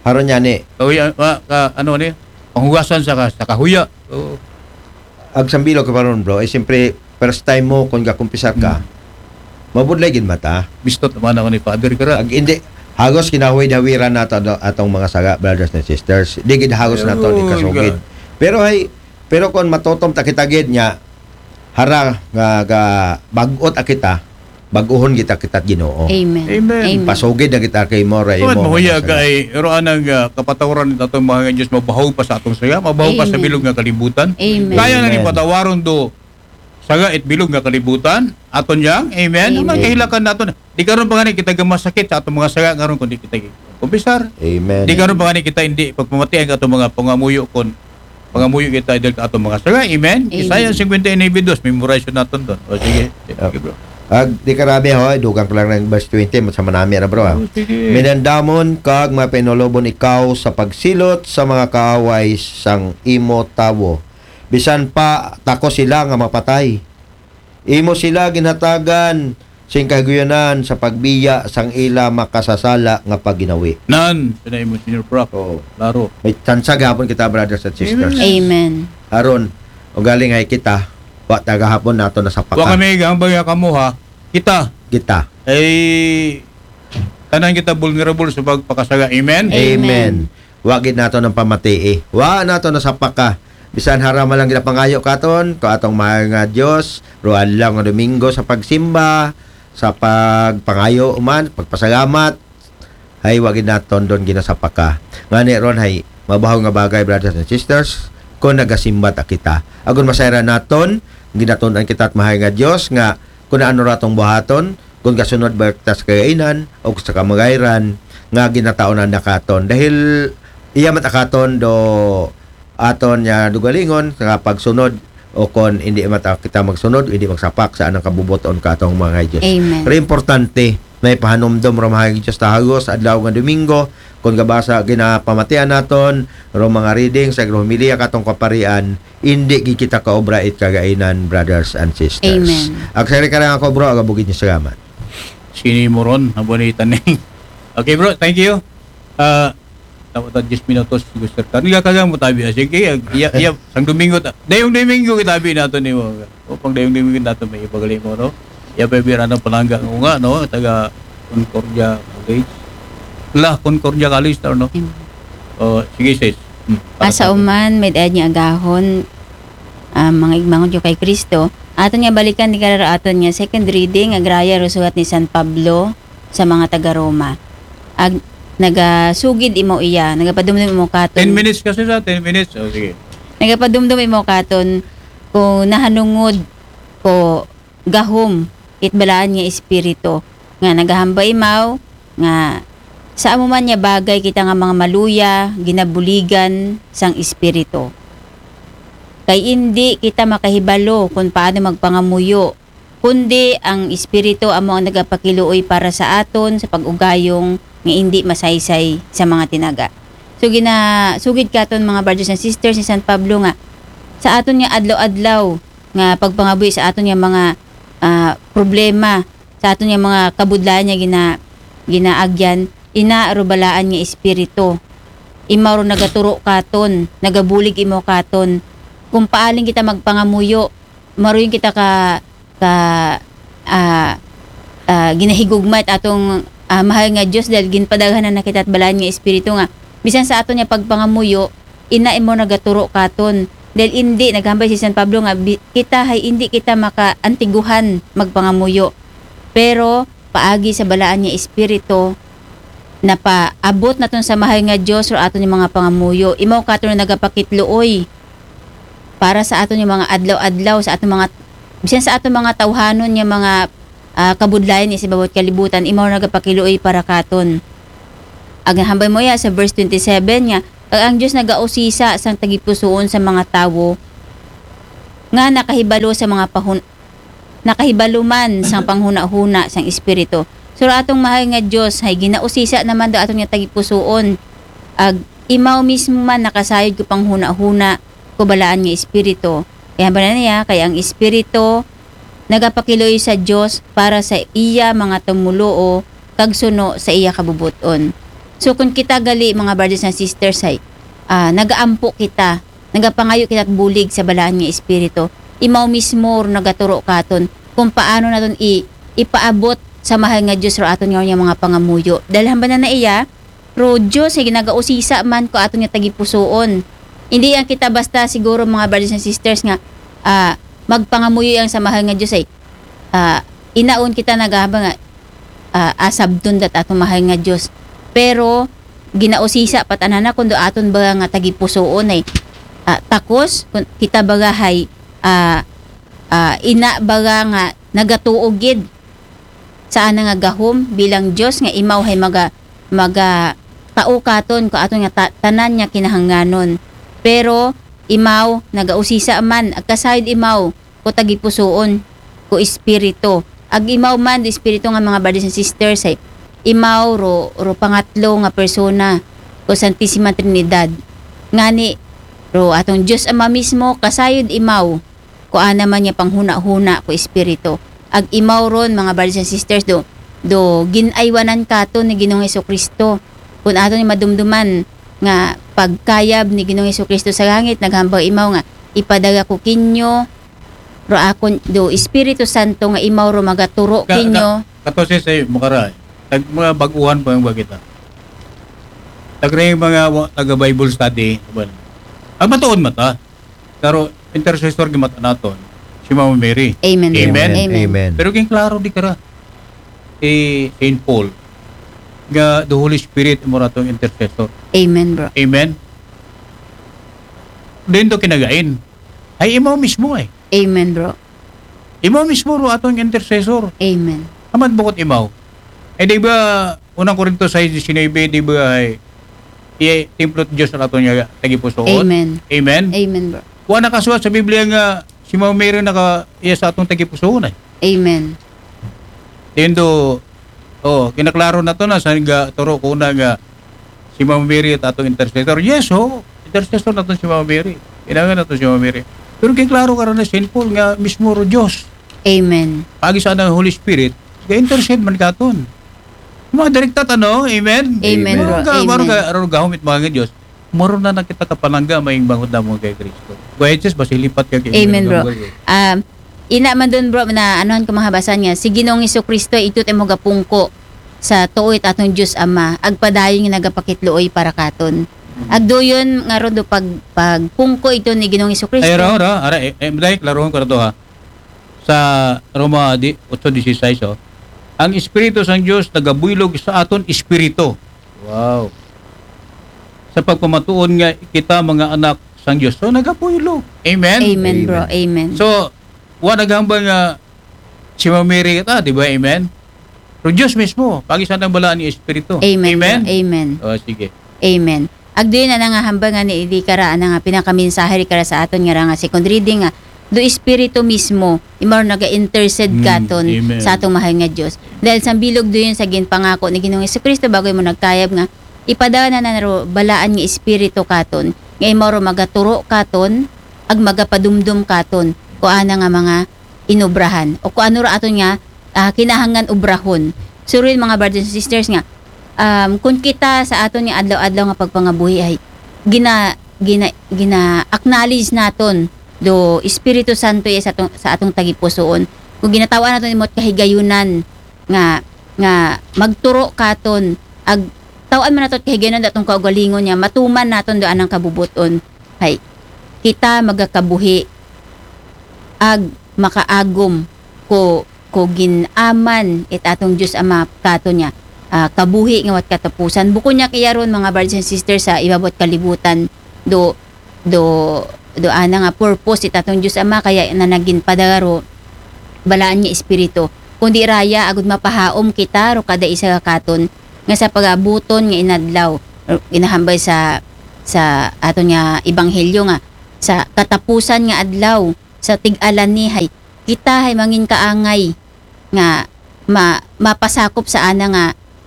haron niya ni Kahuya, ah, ka, ano ni? Panghugasan sa, ka, sa kahuya. Oo. Ag sambilog ka pa ron, bro, ay siyempre first time mo kung gakumpisar ka, mabudlay gid mata. Bistot naman ako ni Father Kara. Ag hindi, hagos kinahuwid-hawiran nato ato- atong mga saga, brothers and sisters. Di gid hagos nato ni Ayun, kasugid. ka- Pero ay, pero kung matutom ta kita gid niya, hara nga ga bagot a kita, baguhon kita kita Ginoo. Amen. Amen. Pasugid na kita kay mo ra Tuwad imo. mo huya mga kay roan ang ah, kapatawaran ni atong mga Diyos, mabahaw pa sa atong saya, mabahaw pa sa Amen. bilog nga kalibutan. Amen. Kaya na ni Amen. patawaron do saga it bilog nga kalibutan. Aton yang, amen. Amen. Ang kahilakan nato na. Di karon pa gani kita gamasakit sa atong mga saga ngaron kundi kita kumpisar. Amen. Di karon pa gani kita hindi pagpamatian ka atong mga pangamuyo kon pangamuyo kita idol ka atong mga saga. Amen. Amen. Isaiah fifty-nine verse two, memorize naton doon. O sige. Sige, bro. Ag di ka rabi ho, dugang ko lang ng verse twenty, sa manami na, bro. Ah. O, sige. Minandamon kag mapainulobon ikaw sa pagsilot sa mga kaaway sang imo tawo. Bisan pa tako sila nga mapatay. Imo sila ginhatagan sing kahiguyunan sa pagbiya sang ila makasasala nga pagginawi. Nan, sa imo, Senior Prof. Oo. Klaro. May tsansa gihapon kita, brothers and sisters. Amen. Aron, ugaling ay kita, wa ta gahapon nato nasapaka. Wa kami gambay kamo ha. Kita. Kita. Ay, tanan kita vulnerable sa pagpakasaga. Amen? Amen. Amen. Wa gid nato ng pamatii. Wa nato nasapaka. Bisan harama lang ginapangayo katon, ko atong mahal nga Dios, ruan lang nga Domingo sa pagsimba, sa pagpangayo man, pagpasalamat, hay wa gid naton doon ginasapaka. Ngani ron hay mabahaw nga bagay, brothers and sisters, kung nagasimba ta kita. Agon masayran naton, ginatun-an kita at mahal nga Dios nga kung ano ratong buhaton, kung gasunod ba ta sa kagainan o sa kamagayran nga ginataon na katon. Dahil iya matakaton do aton niya dugalingon nga pagsunod o kon hindi mata kita magsunod, hindi magsapak sa anang kabubuton ka atong mga Diyos. Amen. Pero importante na ipahanumdom ro mga Diyos tahagos adlaw nga Domingo, kung gabasa ginapamatian naton ro mga reading sa homilya katong kaparian, hindi gid kita kaobra it kagainan, brothers and sisters. Amen. Agsari ka lang ako, bro, agabugid niyo salamat. Sini mo ron, abonita ni. Okay, bro, thank you. Ah, dapat ta diyes minutos, gusto ka. Hindi ka kaya mo tabi, ah, sige, iya, iya, sang Domingo, ta, dayong Domingo kita bi nato ni mo. O, pang dayong Domingo nato may ipagali mo, no? Iya pa bira ng palangga ko nga, no? Taga Concordia College. La, Concordia College, tao, no? Amen. O, sige, sis. Hmm. Asa uman, may dayad niya agahon, ah, mga igmangod yo kay Kristo. Aton nga balikan di karara aton nga second reading, agraya ro sulat ni San Pablo sa mga taga Roma. Ag nagasugid imo iya, nagapadumdum imo katon. Ten minutes kasi sa, ten minutes. O, sige. Nagapadumdum imo katon kung nahanungod ko gahom it balaan nga espiritu nga nagahambal imaw nga sa amo man nga bagay kita nga mga maluya, ginabuligan sang espiritu. Kay indi kita makahibalo kung paano magpangamuyo, kundi ang espiritu amo ang nagapakiluoy para sa aton sa pag-ugayong nga indi masaysay sa mga tinaga. So ginasugid katon mga brothers and sisters ni San Pablo nga sa aton nga adlaw-adlaw nga pagpangabuhi sa aton nga mga ah, problema, sa aton nga mga kabudlayan nga gina, ginaagyan, ina ro balaan nga espiritu. Imaw ro nagaturo katon, nagabulig imo katon. Kung paaling kita magpangamuyo, maruyon kita ka ka ah, ah, ginahigugma it atong ah, mahal nga Dios dahil ginpadaghanan na kita at balaan nga espiritu nga bisan sa aton nga pagpangamuyo, ina imo nagaturo katon. Dahil indi, naghambal si San Pablo nga bi- kita hay indi kita makaantiguhan magpangamuyo. Pero paagi sa balaan nga espiritu, napaabot naton sa mahal nga Dios ro aton nga mga pangamuyo. Imaw katon nga nagapakitluoy para sa aton nga mga adlaw-adlaw, sa aton mga bisan sa aton mga tawhanon nga mga ah, kabudlayan sa bawat kalibutan, imaw nagapakiluoy para katon. Ag hambal mo ya sa verse twenty-seven nga, "Ag ang Dios nagausisa sang tagipusoon sa mga tawo nga nakahibalo sa mga pahun-, nakahibalo man sang panghunahuna sang Espiritu." So, ra atong mahal nga Dios, hay ginausisa naman daw aton nga tagipusoon. Ag imaw mismo man nakasayod ko panghunahuna ko balaan nga Espiritu. Kay hambal na niya, kay ang Espiritu nagapakiluoy sa Dios para sa iya mga tumuluo kag suno sa iya kabubut-on. So, kung kita gali, mga brothers and sisters, hay, ah, nagaampo kita, nagapangayo kita bulig sa balaan nga Espiritu. Imaw mismo ro nagaturo katon kung paano naton i-, ipaabot sa mahal nga Dios ro aton nga mga pangamuyo. Dahil hambal na na iya, ro Dios, hay nagausisa man ko aton nga tagipusoon. Hindi ang kita basta siguro, mga brothers and sisters, nga, ah, magpangamuyo ang sa mahal nga Dios, ay, ah, inaon kita nagahaba nga, ah, asabton dat aton mahal nga Dios. Pero ginausisa pa tanan na kundo aton ba nga tagipusoon ay, ah, takos, kun-, kita baga hay, ah, ah, ina baga nga nagatuo gid sa ana nga gahom bilang Dios nga imaw hay maga-, magatao katon ko aton nga ta-, tanan nga kinahanglanon. Pero imaw nagausisa man, agkasayod imaw ko tagipusoon, ko espiritu. Ag imaw man do espiritu nga mga brothers and sisters, ay imaw ro, ro pangatlo nga persona ko Santisima Trinidad. Ngani ro atong Dios Ama mismo kasayod imaw ko ana man nga panghunahuna ko espiritu. Ag imaw ron, mga brothers and sisters, do, do gin-aywanan katon ni Ginoong Jesucristo. Kun aton ni madumduman nga pagkayab ni Ginoong Jesucristo sa langit, naghambal imaw nga, "Ipadara ko kinyo ro akon do Espiritu Santo nga imaw ro magaturo Ka-, kinyo." ka-, kato si say mukara, eh. Tag mga baguhan pa yung bagita. Tag rin mga wa-, taga Bible study, well, ang matuon mata. Pero intercessor gid mata naton, si Mama Mary. Amen, Lord. Amen? Amen. Amen. Pero king klaro di kara, eh, Saint Paul, nga the Holy Spirit mo ratong intercessor. Amen, bro. Amen? Din to kinagain. Ay, imaw mismo eh. Amen, bro. Imaw mismo ro atong intercessor. Amen. Amat bukod imaw. Eh, di ba, unang Korinto sais diecinuebe, di ba, ay, iya, templo ti Dios ang aton nga tagipusoon? Amen. Amen? Amen, bro. Wa nakasulat sa Biblia nga si Mama Mary naka, iya sa atong tagipusoon, ay. Amen. Dindo, oh, kinaklaro naton na sa nga turo ko na nga si Mama Mary at atong intercessor. Yes, ho. Intercessor naton si Mama Mary. Kinahanglan naton si Mama Mary. Pero kay klaro kara ni Saint Paul nga mismo ro Dios. Amen. Pagi sa ang Holy Spirit, ga-intercede man katon. Mga direkta tano, amen? Amen, bro. Maro ka, maro Amen. ka, aro gahom it mga nga Dios. Maro na na kita kapanangga, maing bangot na mo kay Kristo. Kuya Jesus, basi lipat ka kay Amen, bro. Amen. Um, ina man dun, bro, na anuhan ko mahabasan nga, si Ginoong Jesucristo, ito tayo magapungko sa tuoy at atong Diyos Ama, agpadayon nga nagapakitluoy para katon. Agduyon nga ron do pag, pagpungko ito ni Ginoong Jesucristo. Ay, ra, ra, ara, eh, eh, dahil klarohon ko na to, ha. Sa Roma di, otso dieciséis, oh. Ang Espiritu sang Diyos nagabuylog sa aton espiritu. Wow. Sa pagpamatuon nga kita mga anak sang Diyos. So, nagabuylog. Amen? Amen, bro. Amen. Amen. So, wa naghambal nga si Mama Mary kita, di ba? Amen? Pero Diyos mismo, pagi sa nang balaan ni Espiritu. Amen, bro. Amen? Amen. Oh, sige. Amen. Agduyon na nga hambal nga ni di kara, ana nga pinakamensahe di kara sa aton nga ra nga second reading nga do Espiritu mismo, imaw ro naga-intercede Mm, katon amen. Sa atong mahal nga Diyos. Dahil sa bilog duyon sa ginpangako ni Ginoong Jesucristo, bago mo nagkayab nga, ipadala na na ro balaan nga Espiritu katon, nga imaw ro magaturo katon, ag magapadumdum katon, ko ana nga mga inobrahan, o ko ano ra aton nga, ah, kinahanglan obrahon. So, rin, mga brothers and sisters nga, um, kung kita sa aton nga adlaw-adlaw nga pagpangabuhi ay gina-, gina-, gina-acknowledge naton do Espiritu Santo iya sa atong, sa atong tagipusoon. Kung ginataw-an naton imot kahigayunan nga, nga magturo katon, ag taw-an man naton kahigayunan do atong kaugalingon nga matuman naton do anang kabubuton. Hay, kita magakabuhi ag makaagom ko, ko gin-aman it atong Diyos Ama katon nga, ah, kabuhi nga wat katapusan. Bukon niya kaya ron, mga brothers and sisters, sa ibabot kalibutan, do, do, do ana nga purpose it atong Diyos Ama, kaya na nagin padagaro balaan nga Espiritu. Kundi raya, agud mapahaom kita, ro kada isa katon, nga sa pagabuton nga inadlaw, ginahambal sa, sa aton nga ebanghelyo nga sa katapusan nga adlaw, sa tig-alani, hay kita hay mangin kaangay nga ma-, mapasakop sa ana nga,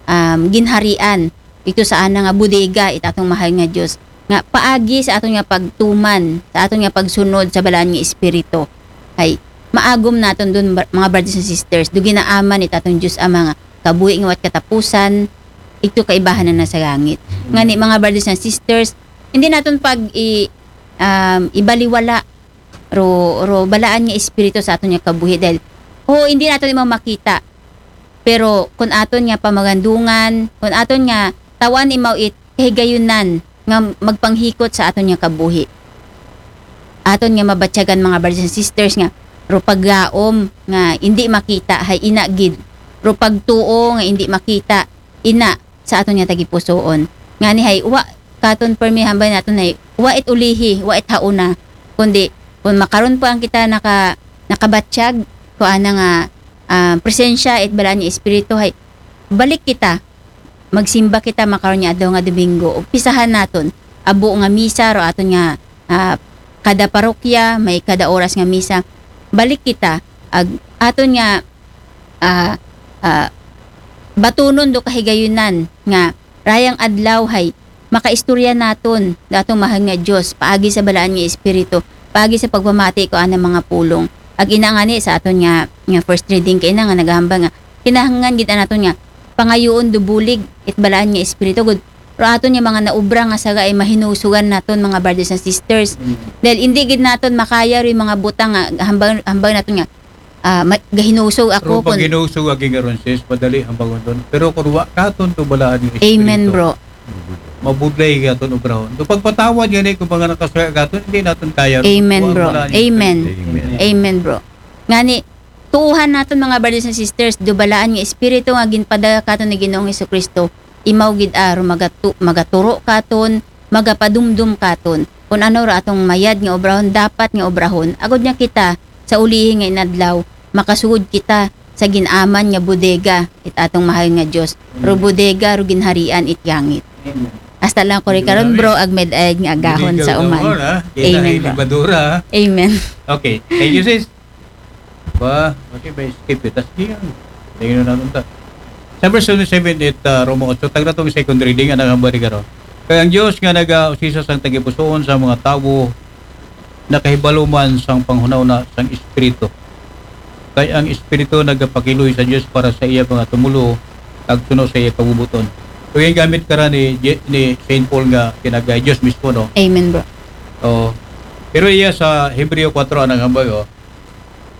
um, ginharian, ito sa ana nga bodega, it atong mahal nga Dios, nga paagi sa aton nga pagtuman, sa aton nga pagsunod sa Balaan nga Espiritu, hay maagom naton dun, bar-, mga brothers and sisters, do ginaaman it atong Dios Ama nga kabuhi nga wat katapusan, ito kaibahan na sa langit. Ngani, mga brothers and sisters, hindi naton pag i-, um, ibaliwala ro, ro balaan nga espiritu sa aton nga kabuhi, dahil, oo, hindi naton imaw makita. Pero kun aton nga pamagandungan, kun aton nga tawan imaw it kahigayunan nga magpanghikot sa aton nga kabuhi. Aton nga mabatyagan, mga brothers and sisters, nga ro paglaom nga hindi makita, hay ina gid. Ro pagtuo nga hindi makita, ina sa aton nga tagipusoon. Ngani hay, wa katon permi hambal naton hay, wa it ulihi, wa it hauna. Kundi, kun makaron pa ang kita naka-, nakabatyag, ko ana nga, ah, presensya, it balaan nga espiritu, hay, balik kita, magsimba kita makaron nga adlaw nga Domingo. Umpisahan naton, abo nga misa, ro aton nga, ah, kada parokya, may kada oras nga misa. Balik kita, ag aton nga, ah, ah, batunon do kahigayunan nga rayang adlaw hay makaistorya naton do aton mahal nga Dios, paagi sa balaan nga espiritu, paagi sa pagpamati ko ana mga pulong. Ag ina ngani sa aton nga, nga first reading kaina nga nagahambal nga kinahanglan gid naton nga pangayuon do bulig it balaan nga espiritu, gud ro aton nga mga naubra nga saga ay mahinusugan naton, mga brothers and sisters. Dahil hindi gid naton makaya ro mga butang nga hambal, hambal naton nga, ah, ma-, gahinusog ako. Pero pag kun hinusog agi nga ron, sis, madali ang bangon doon. Pero kung wa katon to balaan nga espiritu, amen, bro, mabudlay katon obrahon. To pagpatawad gani kung mga nakasaya katon, hindi naton kaya. Amen, bro. Amen. Amen. Amen, bro. Ngani, tuuhan naton, mga brothers and sisters, do balaan nga espiritu nga ginpadala katon ni Ginoong Hesukristo, imaw gid aro magatu-, magaturo katon, magapadumdum katon kun ano ra atong mayad nga obrahon, dapat nga obrahon, agud nga kita sa ulihi nga inadlaw makasugod kita sa gin-aman nga bodega, it atong mahal nga Dios, ro bodega, ro ginharian it yangit. Hasta lang ko rin karon, bro, ag med-, ag nga agahon sa uman. Amen, bro. Amen. Okay. Thank you, sis. Ba, okay, ba, skip it. Tas di yan. Tingnan natin ta. Sa verse twenty-seven, it, ah, Roma eight, tagna tong second reading, ang hambal ni Garo. Kaya ang Diyos nga nag-usisa sang tagipusoon sa mga tawo, nakahibalo man sang panghunahuna sang Espiritu. Kay ang Espiritu nagapakiluoy sa Diyos para sa iya mga tumulo, kag suno sa iya pagbubuton. So, yung gamit ka ra ni Je-, ni Saint Paul nga kinagay Diyos mismo, no? Amen, bro. Oh. Pero iya sa Hebreo four ang hambal, oh.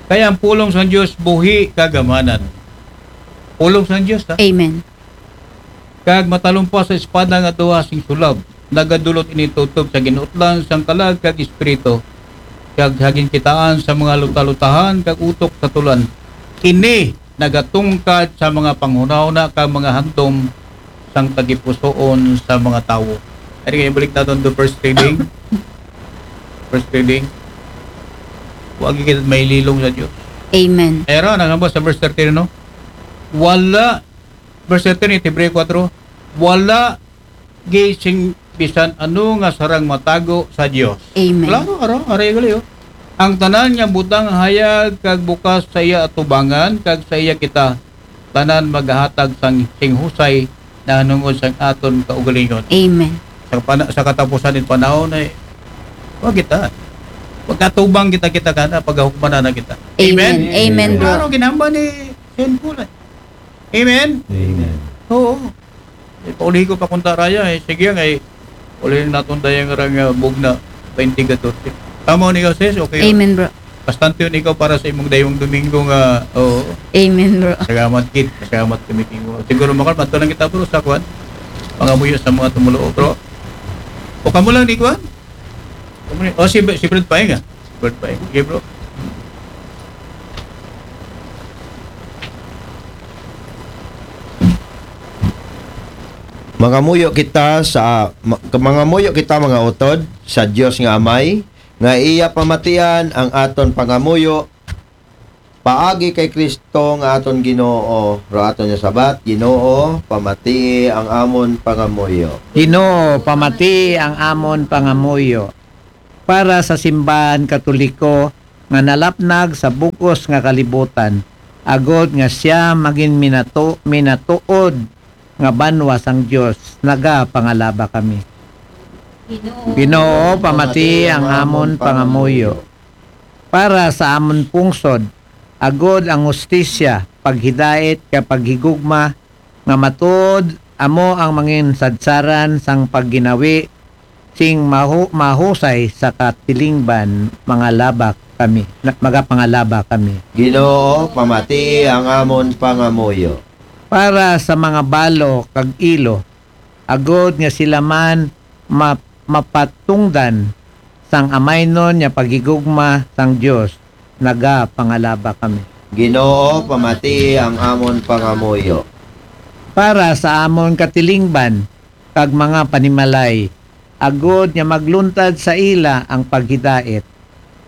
Kaya ang pulong sang Diyos, buhi, kagamanan. Pulong sang Diyos, ha? Amen. Kag matalumpas sa espada nga duha sing sulab, nagadulot ini tutob sa ginuutlan sang kalag kag espiritu, kag sa ginkitaan sa mga lutalutahan kag utok sa tulan. Ini nagatungkad sa mga panghunahuna kag mga handom sang tagipusoon sa mga tawo. Ari nga, ibalik naton to first reading. First reading. Wa gyud kita mahililong sa Dios. Amen. Pero nangamba sa verse thirteen, no? Wala, verse thirteen, Hebreo four, wala gyud sing bisan ano nga sarang matago sa Dios. Amen. Klaro, aro, ari gali, oh. Ang tanan nga butang hayag kag bukas sa iya atubangan kag sa iya kita, tanan magahatag sang sing husay nahanungod sang aton kaugalingon. Amen. Sa pana-, sa katapusan ng panahon ay, wa kita. Pagkatubang kita, kita kana, pagahukmanan na kita. Amen. Amen, bro. Klaro, ginamba ni Saint Paul, eh. Amen? Amen. Oo. Eh, paulihi ko pa kunta raya, eh. Sige, nga, eh. Uli naton dayang rang, ah, bugna, twenty katorse. Tama ni ikaw, sis? Okay. Amen, bro. Bastante yun ikaw para sa imong dayong Domingo nga, oo. Amen, bro. Salamat, kid. Salamat kami kimo. Siguro, makal, mato lang kita, bro, sa kwan. Pangamuyo sa mga tumulo, bro. O kamo lang ni kwan? Kamo ni, oh, si, si Brad Paeng, ah. Brad Paeng. Okay, bro. Mangamuyo kita sa, ma-, mangamuyo kita, mga utod, sa Dios nga Amay, nga iya pamatian ang aton pangamuyo, Paagi kay Kristo nga aton Ginoo, ro aton nga sabat, Ginoo, pamatii ang amon pangamuyo. Ginoo, pamatii ang amon pangamuyo. Para sa simbahan Katoliko nga nalapnag sa bug-os nga kalibutan, agod nga siya magin minato-, minatuod nga banwa sang Dios, nagapangalaba kami. Ginoo, pamatii ang amon pangamuyo. Para sa amon pungsod, agod ang hustisya, paghidait, kag paghigugma, nga matuod amo ang mangin sadsaran sang pagginawi sing mahu-, mahusay sa katilingban, mangalaba kami, na-, magapangalaba kami. Ginoo, pamatii ang amon pangamuyo. Para sa mga balo kag ilo, agod nga sila man ma-, mapatungdan sang amaynon nga paghigugma sang Dios, nagapangalaba kami. Ginoo, pamatii ang amon pangamuyo. Para sa amon katilingban kag mga panimalay, agod nga magluntad sa ila ang paghidait,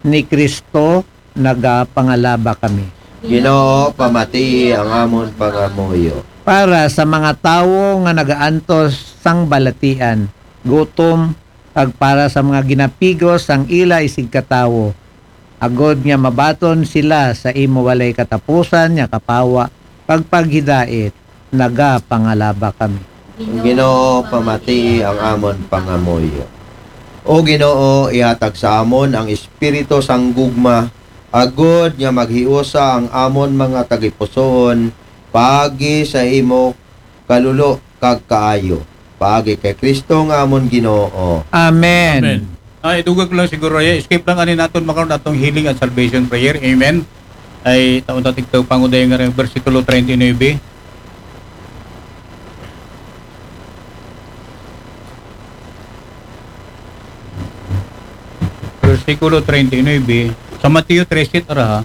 ni Kristo nagapangalaba kami. Ginoo, pamatii ang amon pangamuyo. Para sa mga tawo nga nagaantos sang balatian, gutom, kag para sa mga ginapigos sang ila isigkatawo, agod nga mabaton sila sa imo walay katapusan nga kapawa kag paghidait, nagapangalaba kami. Ginoo, pamatii ang amon pangamuyo. O Ginoo, ihatag sa amon ang espiritu sang gugma, agod nga maghiusa ang amon mga tagipusoon paagi sa imo kalulo kag kaayo. Paagi kay Kristo nga amon Ginoo. Amen. Amen. Ah, idugag lang siguro, eh, skip lang ani naton makaron atong healing and salvation prayer. Amen. Ay, taon ta tigtaw panguday nga rin, bersikulo treinta y nueve. Bersikulo treinta y nueve, sa Mateo trese, ara ha.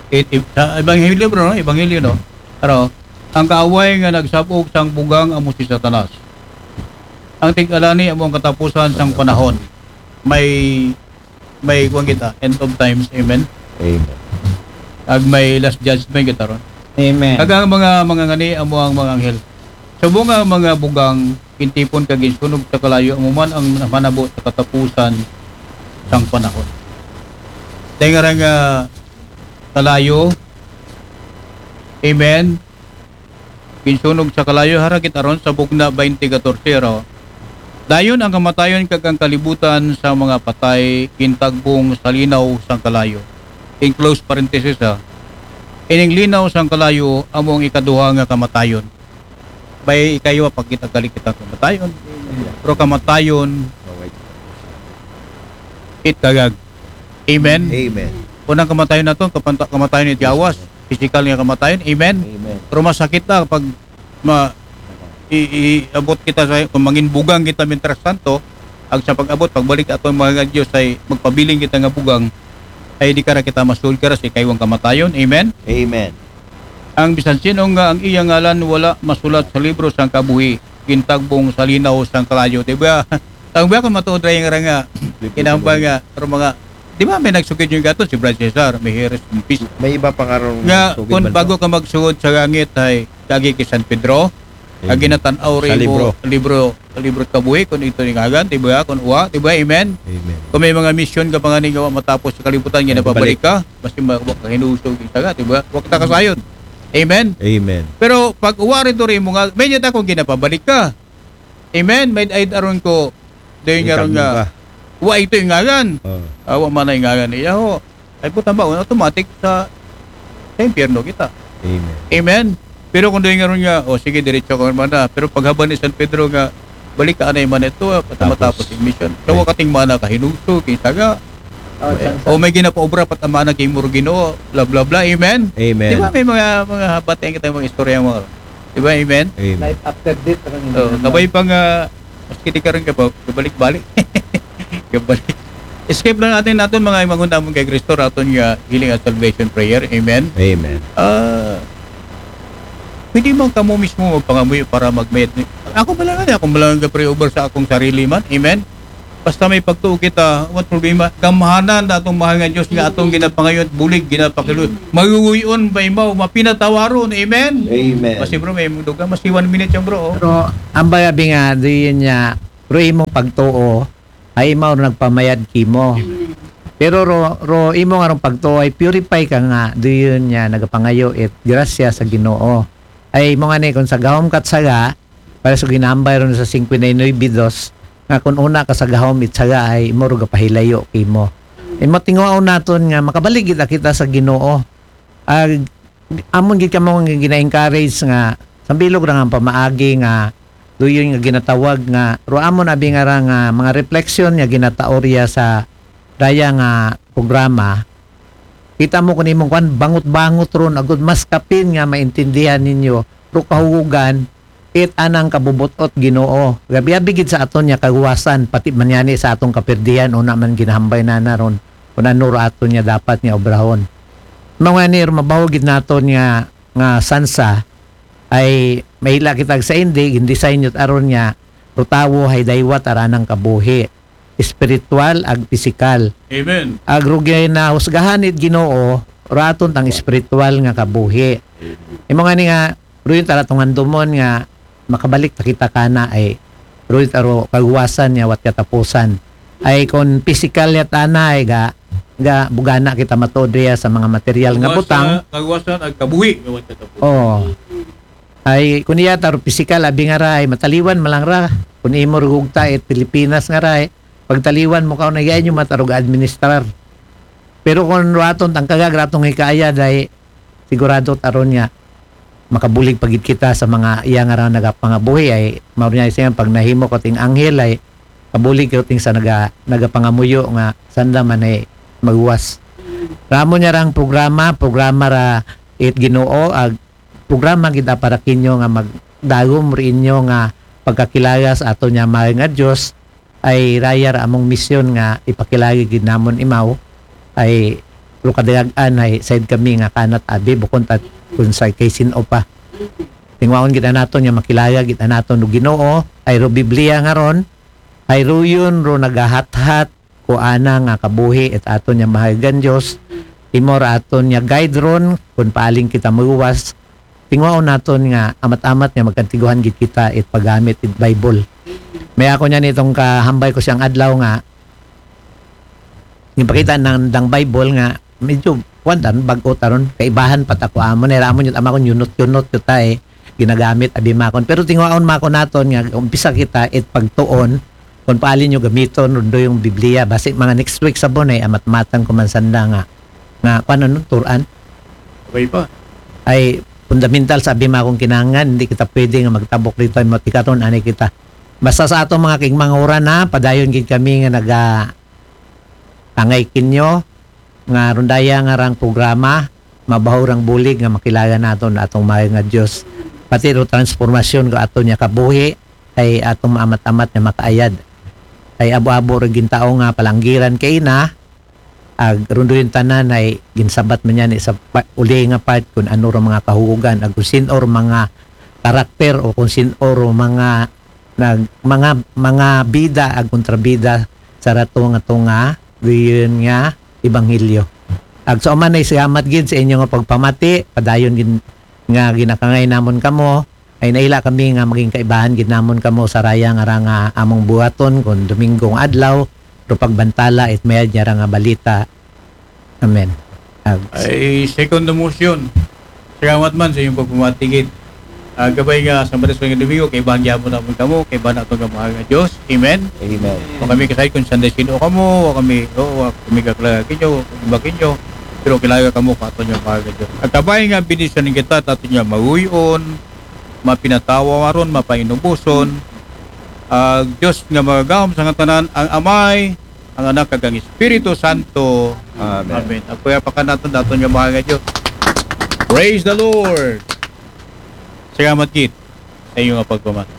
It, it, sa Ebanghelyo, bro, no? Ebanghelyo, no? Pero, ang kaaway nga nagsabog sang bugang amo si Satanas. Ang tig-alani amo ang katapusan sang panahon. May, may kuwan kita, end of times, amen? Amen. Ag may last judgment kita ron. Amen. Kag ang mga, mga ngani, amo ang mga anghel. Subong nga mga bugang, gintipon kag ginsunog sa kalayo, amo man ang manabo sa katapusan sang panahon. Dahil nga ra nga kalayo, amen, ginsunog sa kalayo, hara kita ron sa Bugna twenty katorse, ro. Dayon ang kamatayon kag ang kalibutan sa mga patay gintagbong sa linaw sang kalayo. In close parenthesis, ha. Ining linaw sang kalayo amo ang ikaduha nga kamatayon. Bay, ikayo, pagkita gali kita kamatayon. Pero kamatayon, it kagag. Amen? Amen. Unang kamatayon naton, kapanta-, kamatayon ni Tiawas. Physical nga kamatayon. Amen? Amen. Pero masakit na pag ma-, i-, i-, abot kita sa, kung mangin bugang kita mientras tanto, ag sa pag-abot, pagbalik aton mga Dios ay magpabiling kita nga bugang, ay di kara kita masulod kara sa ikaywang kamatayon. Amen? Amen. Ang bisan sino nga ang iya ngalan wala masulat sa libro sang kabuhi, gintagbong sa linaw sang kalayo, di ba? Ang ba kung matuod ra yung nga, kinahanglan nga, pero mga, di ba may nagsugid yung gato, si Brad Cesar, may Heres Kumpis. May iba pa nga ron Nga, sugid kung man bago to. Ka magsugod sa langit, ay, lagi kay San Pedro, Amen. Ang ginatan-aw Sa rin libro. Mo, libro, libro kabuhi, kung ito yung agan, di ba? Kung uwa, di ba? Amen? Amen. Kung may mga mission ka pa nga ni gawa matapos sa kalibutan, Ay, ginapabalik ka, mas yung mga kahinusog, isa ka, di ba? Huwag ta kasayon. Amen? Amen. Pero pag uwa rin to rin mo nga, may niyata kung ginapabalik ka. Amen? May ay aron ko, doon May nga ron kamyo nga, ka. Wa ito yung ngagan. Oh. Awa man na yung ngagan niya ho. Ay puta ba, automatic sa, sa impyerno kita. Amen. Amen? Pero kung doon nga ron nga, o sige, diretso ka man na. Pero paghaban ni San Pedro nga, balik ka anay man ito, ah, pati Tapos. Matapos yung mission. So, Amen. Wakating mana kahinuso, kinsaga. Oh, San, San. O may ginapaobra, pat ang mana kay Murgino, bla bla bla. Amen? Amen. Di ba may mga, mga habat yan kita mga istorya mga, di ba? Amen? Amen. Life after death, parang So, hindi kabay naman. Pang, ah, maski di ka rin kapag, kabalik-balik. Kabalik. Escape lang natin natin mga imangun namun kay Kristo, raton nga healing and salvation prayer. Amen? Amen. Ah, pwede man kamo mismo magpangamuyo para magmayad ni, Ako pala nga, ako pala nga pray over sa akong sarili man. Amen? Basta may pagtuo kita, what problema? Gamhanan na atong mahal nga Diyos nga atong ginapangayon, bulig, ginapakiluoy. Maguguyon, maimaw, mapinatawaron. Amen? Amen. Basi bro, may mundo ka. Basi one minute yan bro. Oh. Pero ambay abi nga, diin niya, pero imong pagtuo, ay imaw ro nagpamayad kimo. Pero ro, ro imo nga rong pagtuo ay purify ka nga, diin niya nagapangayo it grasya sa Ginoo. Ay mo nga ni kung sa gahom kat saga, para sa ginambay ron sa fifty-nine dos, nga kung una ka sa gahom it saga ay imo ro gapahilayo kimo. Imo tinguhaon naton nga makabalik gid kita sa Ginoo. Ag amon gid kamo nga gina-encourage nga sambilog ra nga pamaagi nga duyon nga ginatawag nga ro amon abi nga ra nga mga reflection nga ginataorya sa daya nga programa. Kita mo kun imong kwan, bangot-bangot ron, agud mas kapin nga maintindihan ninyo, ro kahugugan, it anang kabubot-ot Ginoo. Gabi-abi gid sa aton niya kaguwasan, pati man yani sa atong kapirdihan, una man ginahambay na naron, kung ano ra aton niya dapat niya obrahon. Mao nga ni, mabaho gid naton nga, nga sansa, ay mahila kita sa indi, gindesign yun aron niya, ro tawo hay daywat aranang kabuhi, espiritual ag pisikal. Amen. Ag ro ginahusgahan it Ginoo, ro aton tang espiritual nga kabuhi. Imo nga ni nga, ro yun tara tong handumon nga, makabalik ta kita kana ay, ro yun taro kaguwasan niya, wat katapusan. Ay, kung pisikal yat ana, ay ga, ga, bugana kita matuod riya sa mga material nga butang. Kaguwasan ag kabuhi. Nga what katapusan. Oh. Ay, kung iya taro pisikal, abi nga ra, ay mataliwan man lang ra. Kung imo rugugta, it Pilipinas nga ra, ay, pagtaliwan mo ka, na yan yung matarog administrar. Pero kung raton, tang kagag, ratong hikaya, day, sigurado taron niya, makabulig pagid kita sa mga iya nga ra nagapangabuhi, ay, mao niya siya, pag nahimo ko ting anghel, ay, kabulig ko ting sa naga, nagapangamuyo nga, sanda man ay, maguwas. Ramo niya rang programa, programa ra, it Ginoo, ag, programa gid para kinyo nga magdagom ri inyo nga pagkakilala sa ato niya mahal nga Dios, ay rayar among misyon nga ipakilala gid namon imaw ay ro kadayagan ay said kami nga kanat abi bukon tat kun sa kay sin-o pa. Tingwaon gid naton nga makilala gid naton og Ginoo ay ro Biblia nga ron ay ruyon ro nagahathat ko ana nga kabuhi it aton niya mahagan Dios. Imo ra aton niya guide ron kung paaling kita maguwas. Tingwaon naton nga amat-amat nga magkantiguhan gid kita it paggamit it Bible. May ako niya nitong kahambay ko siyang adlaw nga gipakita nang dang Bible nga medyo kuwan tan bag-o taron kaibahan pa ta ko amo na ramo yun ama ko yunot-yunot yun ta eh ginagamit abi makon pero tingwaon makon naton nga umpisa kita it pagtuon kung paali nyo gamiton rundo yung Biblia basi mga next week sabon ay amat-matan ko man sanda nga nga kuan ano turan Okay pa. Ay fundamental sa abi makong kinahanglan hindi kita pwede nga magtabok dito mo tikaton ani kita basta sa atong mga kigmanguran na padayon gid kami nga naga tangay kinyo nga rundaya nga rang programa mabaho rang bulig nga makilala naton atong mayo nga Dios pati ro transformasyon ko ato niya kabuhi ay atong maamat-amat nga makaayad ay abo-abo ra gintao nga palanggiran kay na ag runduyon tanan ay ginsabat man niya ni sa pa, uli nga part kung ano ra mga kahugugan ag kung sin-o ra mga karakter o kung sin-o ra mga nag, mga mga bida ag kontrabida sa rato nga tunga gayon nga ebanghelyo. Ag sa uman ay salamat gid sa inyo nga pagpamati, padayon gid nga ginakangay namon kamo, ay naila kami nga maging kaibahan gid namon kamo sa raya nga ra nga among buhaton kun Dominggo nga adlaw, ro pagbantala it mayad niya ra nga balita. Amen. Ag, Ay, second the motion. Salamat man sa inyong pagpamatigit. Ah, gabay nga sa Maris nga Domingo, kay bahang gyapon naman kamo, kay bahang nato nga mahal nga Diyos. Amen. Amen. Wa kami kasay kung sanda sino kamo, wa kami, o, wa kami kaklagag inyo, wa kami iba kinyo, pero kilaga kamo kung ato niya mahal nga Diyos. Ag kabay nga binisan kita, tato niya maguyon, mapinatawa maron, mapainubuson. Ag Diyos nga magagahom sa nga tanan, ang Amay, ang Anak, kag ang Espiritu Santo. Amen. Amen. Ag kaya pa ka naton, naton nga mahal nga Diyos. Praise the Lord. Salamat gid sa inyo nga pagpamati.